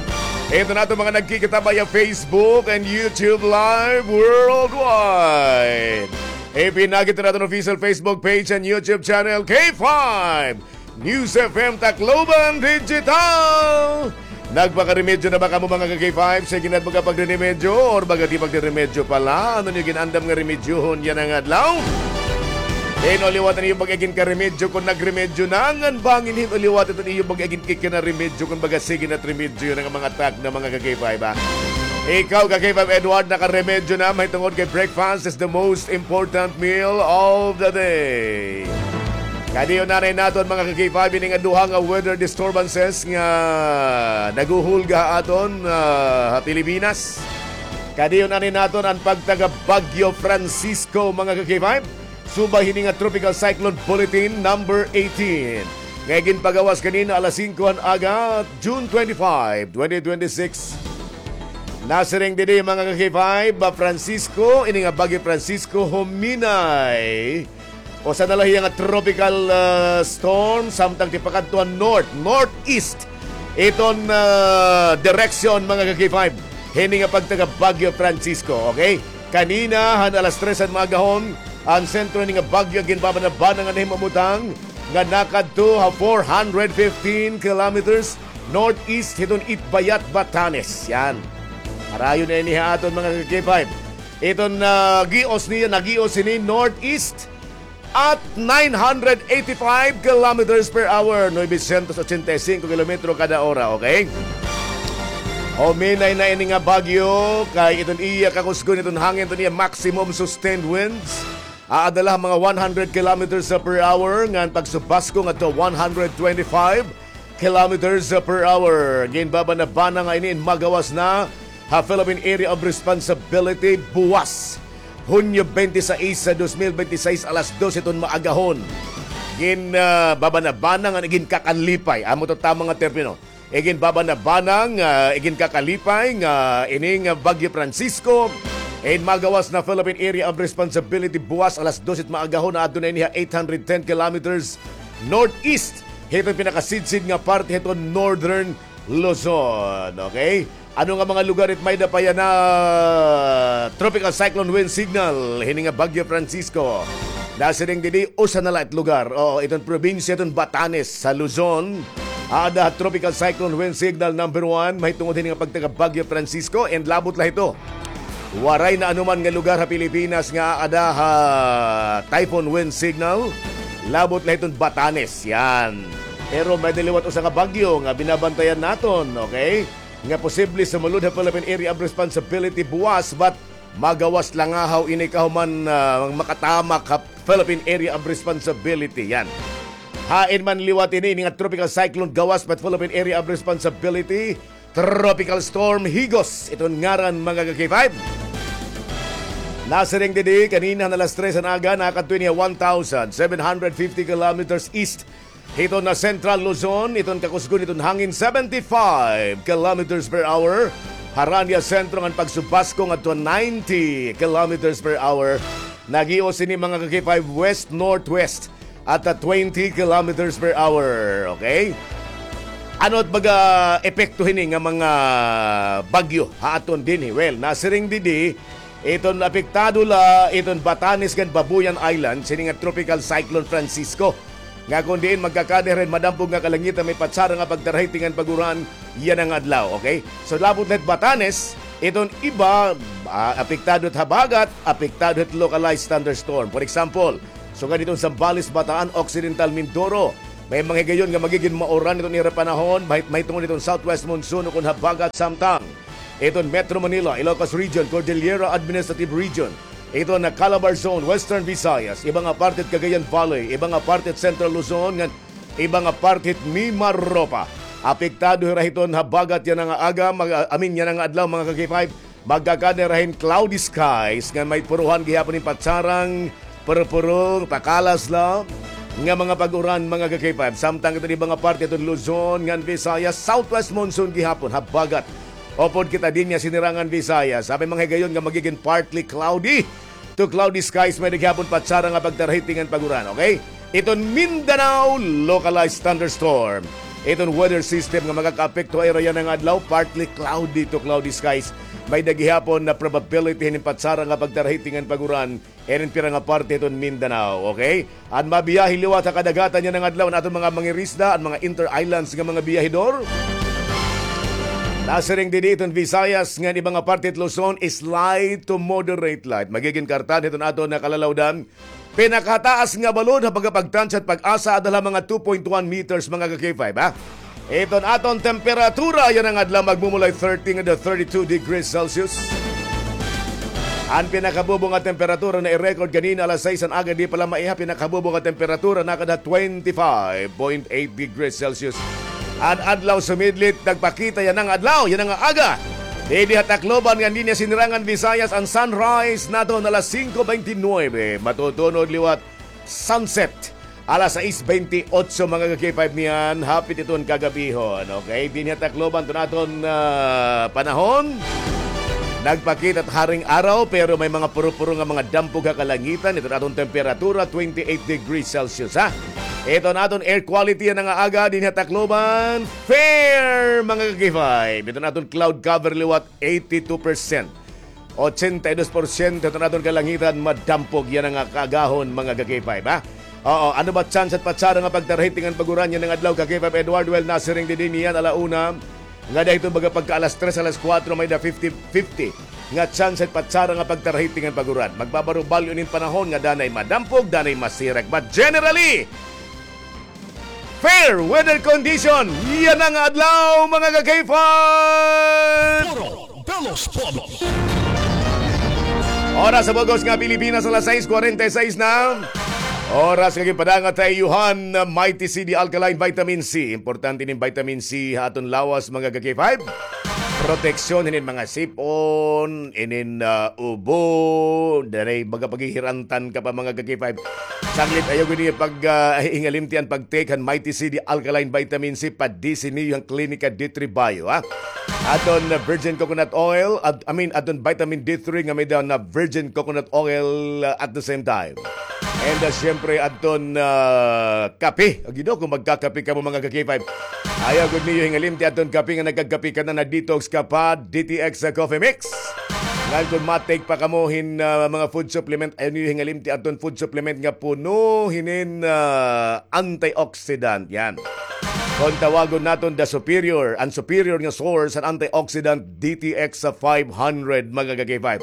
Ito na ato mga nagkikita via Facebook and YouTube Live worldwide. Ipinakita naton official Facebook page and YouTube channel, K five News F M Tacloban Digital. Nagpakaremedyo na ba kamo, mga ka-K five? Sige na ba ka pagriremedyo or baga di pagriremedyo pala? Ano niyo ginandam nga remedyohon yana nga adlaw? Hin-o liwat an iyo bag-o ginkaremedyo kon nagremedyo na, ngan bangin hin-o liwat iton iyo bag-o ginkikinaremedyo kon baga sige na it remedyo yana nga mga tagna, mga ka-K five, ha? Ikaw, ka-K five Edward, nakaremedyo na, mahitungod kay breakfast is the most important meal of the day. Kadi-on anay naton, mga ka-K five, ini nga duha nga weather disturbances nga naghuhulga ha aton, ah, ha Pilipinas. Kadi-on anay naton an pagtaga Bagyo Francisco, mga ka-K five. Subay hini nga Tropical Cyclone Bulletin number eighteen nga ginpagawas kanina alas singko han aga, June twenty-five, twenty twenty-six. Nasiring didi, mga ka-K five, ba, Francisco, ini nga Bagyo Francisco huminay usa na la hiya nga tropical, ah, storm, samtang tipakadto han north, northeast iton, ah, direksyon, mga ka-K five, hini nga pagtaga Bagyo Francisco, okay? Kanina, han alas tres han maagahon, an sentro hini nga bagyo ginbabana-bana nga nahimumutang nga nakadto ha four hundred fifteen kilometers northeast hiton Itbayat, Batanes. Yan. Harayo na ini ha aton, mga ka-K five. Iton, ah, gios niya, nagios hini northeast at nine hundred eighty-five kilometers per hour, novecientos ochenta y cinco kilometro kada ora, okay? Huminay na ini nga bagyo, kay iton iya kakusgon, iton hangin, iton iya maximum sustained winds, aada la ha mga one hundred kilometers per hour, ngan pagsubaskog ngadto one hundred twenty-five kilometers per hour. Ginbabana-bana nga ini in magawas na ha Philippine Area of Responsibility buwas, Hunyo twenty-six sa dos mil twenty-six, alas dos hiton maagahon. Gin, ah, babana-bana nga iginkakalipay. Amo to tama nga termino. Iginbabana-bana nga iginkakalipay nga ini nga Bagyo Francisco In magawas na Philippine Area of Responsibility, buwas alas dos it maagahon, adto na ini ha eight hundred ten kilometers northeast hiton pinakasidsid nga parte hiton Northern Luzon. Okay? Ano nga mga lugar it may-ada pa yana Tropical Cyclone Wind Signal hini nga Bagyo Francisco? Nasiring didi, usa na la it lugar. Oo, iton probinsya iton Batanes sa Luzon. Aada ha Tropical Cyclone Wind Signal number one, mahitungod hini nga pagtaga Bagyo Francisco, and labot la hito. Waray na anuman nga lugar ha Pilipinas nga aada ha Typhoon Wind Signal. Labot la hiton Batanes, yan. Pero may-ada liwat usa nga bagyo nga binabantayan naton, okay? Nga posible sumulod ha Philippine Area of Responsibility buwas, but magawas langahaw ini kahuman, ah, makatamak ha Philippine Area of Responsibility. Yan. Hain man liwat ini, ini nga tropical cyclone gawas pa ha Philippine Area of Responsibility, Tropical Storm Higos iton ngaran, mga ka-K five. Nasiring didi, kanina han alas tres han aga, nakadto ini ha one thousand seven hundred fifty kilometers east hiton Central Luzon, iton kakusgon hiton hangin seventy-five kilometers per hour. Harani ha sentro ngan pagsubasko ngadto ninety kilometers per hour. Naghios ini, mga ka-K five, west-northwest at, ah, twenty kilometers per hour. Okay? Ano it baga epekto hini nga mga bagyo ha aton dinhi? Well, nasiring didi, iton apektado la iton Batanes ngan Babuyan Islands hini nga Tropical Cyclone Francisco, nga kon diin magkakada hira hin madampog nga kalangitan, may patsara nga pagtarahiting ngan pag-uran yana nga adlaw, okay? So, labot la hit Batanes, iton iba, ah, apektado hit habagat, apektado hit localized thunderstorm. For example, sugad hiton Zambales, Bataan, Occidental Mindoro, may mga higayon nga magigin mauran iton ira panahon, mahit-, mahitungod hiton southwest monsoon ukon habagat, samtang iton Metro Manila, Ilocos Region, Cordillera Administrative Region, iton Calabar Zone, Western Visayas, iba nga parte hit Cagayan Valley, iba nga parte hit Central Luzon, ngan iba nga parte hit Mimaropa. Apektado hira hiton habagat yana nga aga, mag-, I mean, yana nga adlaw, mga ka-K five. Magkakada hira hin cloudy skies ngan may puruhan gihapon hin patsarang purupurong, pakalas la nga mga pag-uran, mga ka-K five. Samtang iton iba nga parte hiton Luzon ngan Visayas, southwest monsoon gihapon, habagat. Upod kita dinhi ha Sinirangan Visayas, may mga higayon nga magigin partly cloudy to cloudy skies, may-ada gihapon patsara nga pagtarahiting ngan pag-uran, okay? Iton Mindanao, localized thunderstorm. Iton weather system nga makakaapekto ha ira yana nga adlaw, partly cloudy to cloudy skies. May-ada gihapon na probability hin patsara nga pagtarahiting ngan pag-uran iton pira nga parte hiton Mindanao, okay? An mabiyahe liwat ha kadagatan yana nga adlaw, an aton mga mangirisda, an mga inter-islands nga mga biyahedor. Nasiring didi iton Visayas ngan iba nga parte hit Luzon, slight to moderate light. Magigin kartan hiton aton nga kalalawdan. Pinakataas nga balod ha pagkapagtansya hit PAGASA, ada la ha mga two point one meters, mga ka-K five, ha? Iton aton temperatura yana nga adlaw, magmumulay thirty ngadto thirty-two degrees Celsius. An pinakabubo nga temperatura na-record kanina alas sais han aga, di pa la maiha, pinakabubo nga temperatura nakada twenty-five point eight degrees Celsius. An adlaw sumidlit, nagpakita yana nga adlaw, yana nga aga. Didi ha Tacloban ngan dinhi ha Sinirangan Visayas, an sunrise naton alas singko beintinuebe. Matutunod liwat sunset alas sais beintiotso, mga ka-K five, niyan, hapit iton kagabihon. Okay, dinhi ha Tacloban, iton aton, ah, panahon. Nagpakita it haring araw, pero may mga puro-puro nga mga dampog ha kalangitan. Iton aton temperatura, twenty-eight degrees Celsius, ha? Iton aton air quality yana nga aga dinhi ha Tacloban, fair, mga ka-K five. Iton aton cloud cover liwat, eighty-two percent. Ochenta y dos porsyento iton aton kalangitan madampog yana nga kaagahon, mga ka-K five, ha? Oo, ano ba chance hit patsara nga pagtarahiting ngan pag-uran yana nga adlaw, ka-K five Edward? Well, nasiring didi niyan ala una, ngada hiton baga pagka alas tres, alas kuwatro, may-ada fifty fifty nga chance hit patsara nga pagtarahiting ngan pag-uran. Magbabarubalyo ini hin panahon nga danay madampog, danay masirak. But generally, fair weather condition yana nga adlaw, mga ka-K five. Puro de los Pueblos. Oras ha bug-os nga Pilipinas, alas sais kwarenta y sais na. Oras nga ginpadangat ha iyo han Mighty C D Alkaline Vitamin C. Importante ini hin vitamin C ha aton lawas, mga ka-K five. Proteksyon hinin mga sip-on, inin, ah, ubo, danay baga paghihirantan ka pa, mga ka-K five. Sanglit ayaw gud niyo pag, ah, hingalimti an pag-take han Mighty C D Alkaline Vitamin C, pa-D C niyo han Klinika D three Bio, ha? Aton, uh, virgin coconut oil, at, I mean, aton vitamin D three nga may-ada na virgin coconut oil, uh, at the same time. And, uh, siyempre, aton, uh, kape. Agi daw, kung magkakape kamo, mga ka-K five, ayaw gud niyo hingalimti aton kape nga nagkakape ka na, na detox ka pa, D T X Coffee Mix. Ngan kung ma-take pa kamo hin, uh, mga food supplement, ayaw niyo hingalimti aton food supplement nga puno hinin, uh, antioxidant. Yan. Kung tawagon naton the superior, an superior nga source han antioxidant, D T X five hundred, mga ka-K five.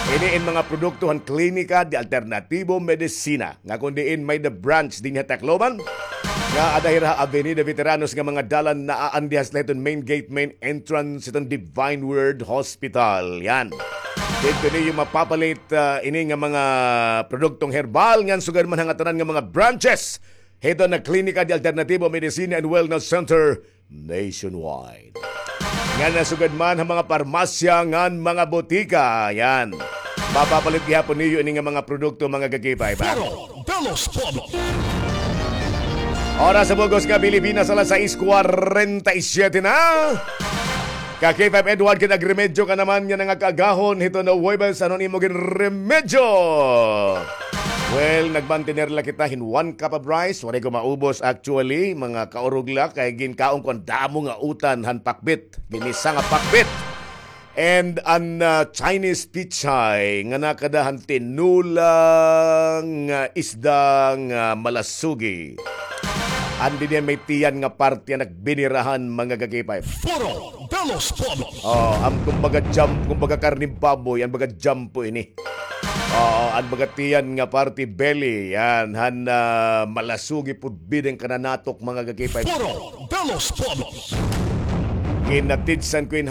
Ini in mga produkto han Klinika de Alternativo Medicina, nga kun diin may-ada branch dinhi ha Tacloban, nga ada hira ha Avenida Veteranos nga mga dalan, naa an dihas la hiton main gate, main entrance hiton Divine Word Hospital. Yan. Didto niyo mapapalit, ah, ini nga mga produktong herbal ngan sugad man ha ngatanan nga mga branches hiton Klinika de Alternativo Medicina and Wellness Center nationwide. Ngan nasugad man ha mga parmasya ngan mga botika. Yan. Mapapalit gihapon niyo ini nga mga produkto, mga ka-K five, ha? Foro de los Pueblos. Oras ha bug-os nga Pilipinas, alas sais kwarenta y siyete na. Ka-K five Edward, kay nagremedyo ka naman nga nangakaagahon hiton Huwebes, ano an imo ginremedyo? Well, nagmantener la kita hin one cup of rice, waray ko maubos actually, mga kaurog la, kay ginkaon ko an damo nga utan han pakbit, ginisa nga pakbit. And an, ah, Chinese pechay nga nakada han tinola nga isda nga malasugi. An dinhi may tiyan nga parte an nagbinirahan, mga ka-K five. Foro de los Pueblos. Oh, an kumbaga jam-, kumbaga karne baboy, an baga jampo ini. Oo, an baga tiyan nga parte, belly, yan, han, ah, malasugi pud bida an kananatok, mga ka-K five. Foro de los Pueblos. Ginatidsan ko in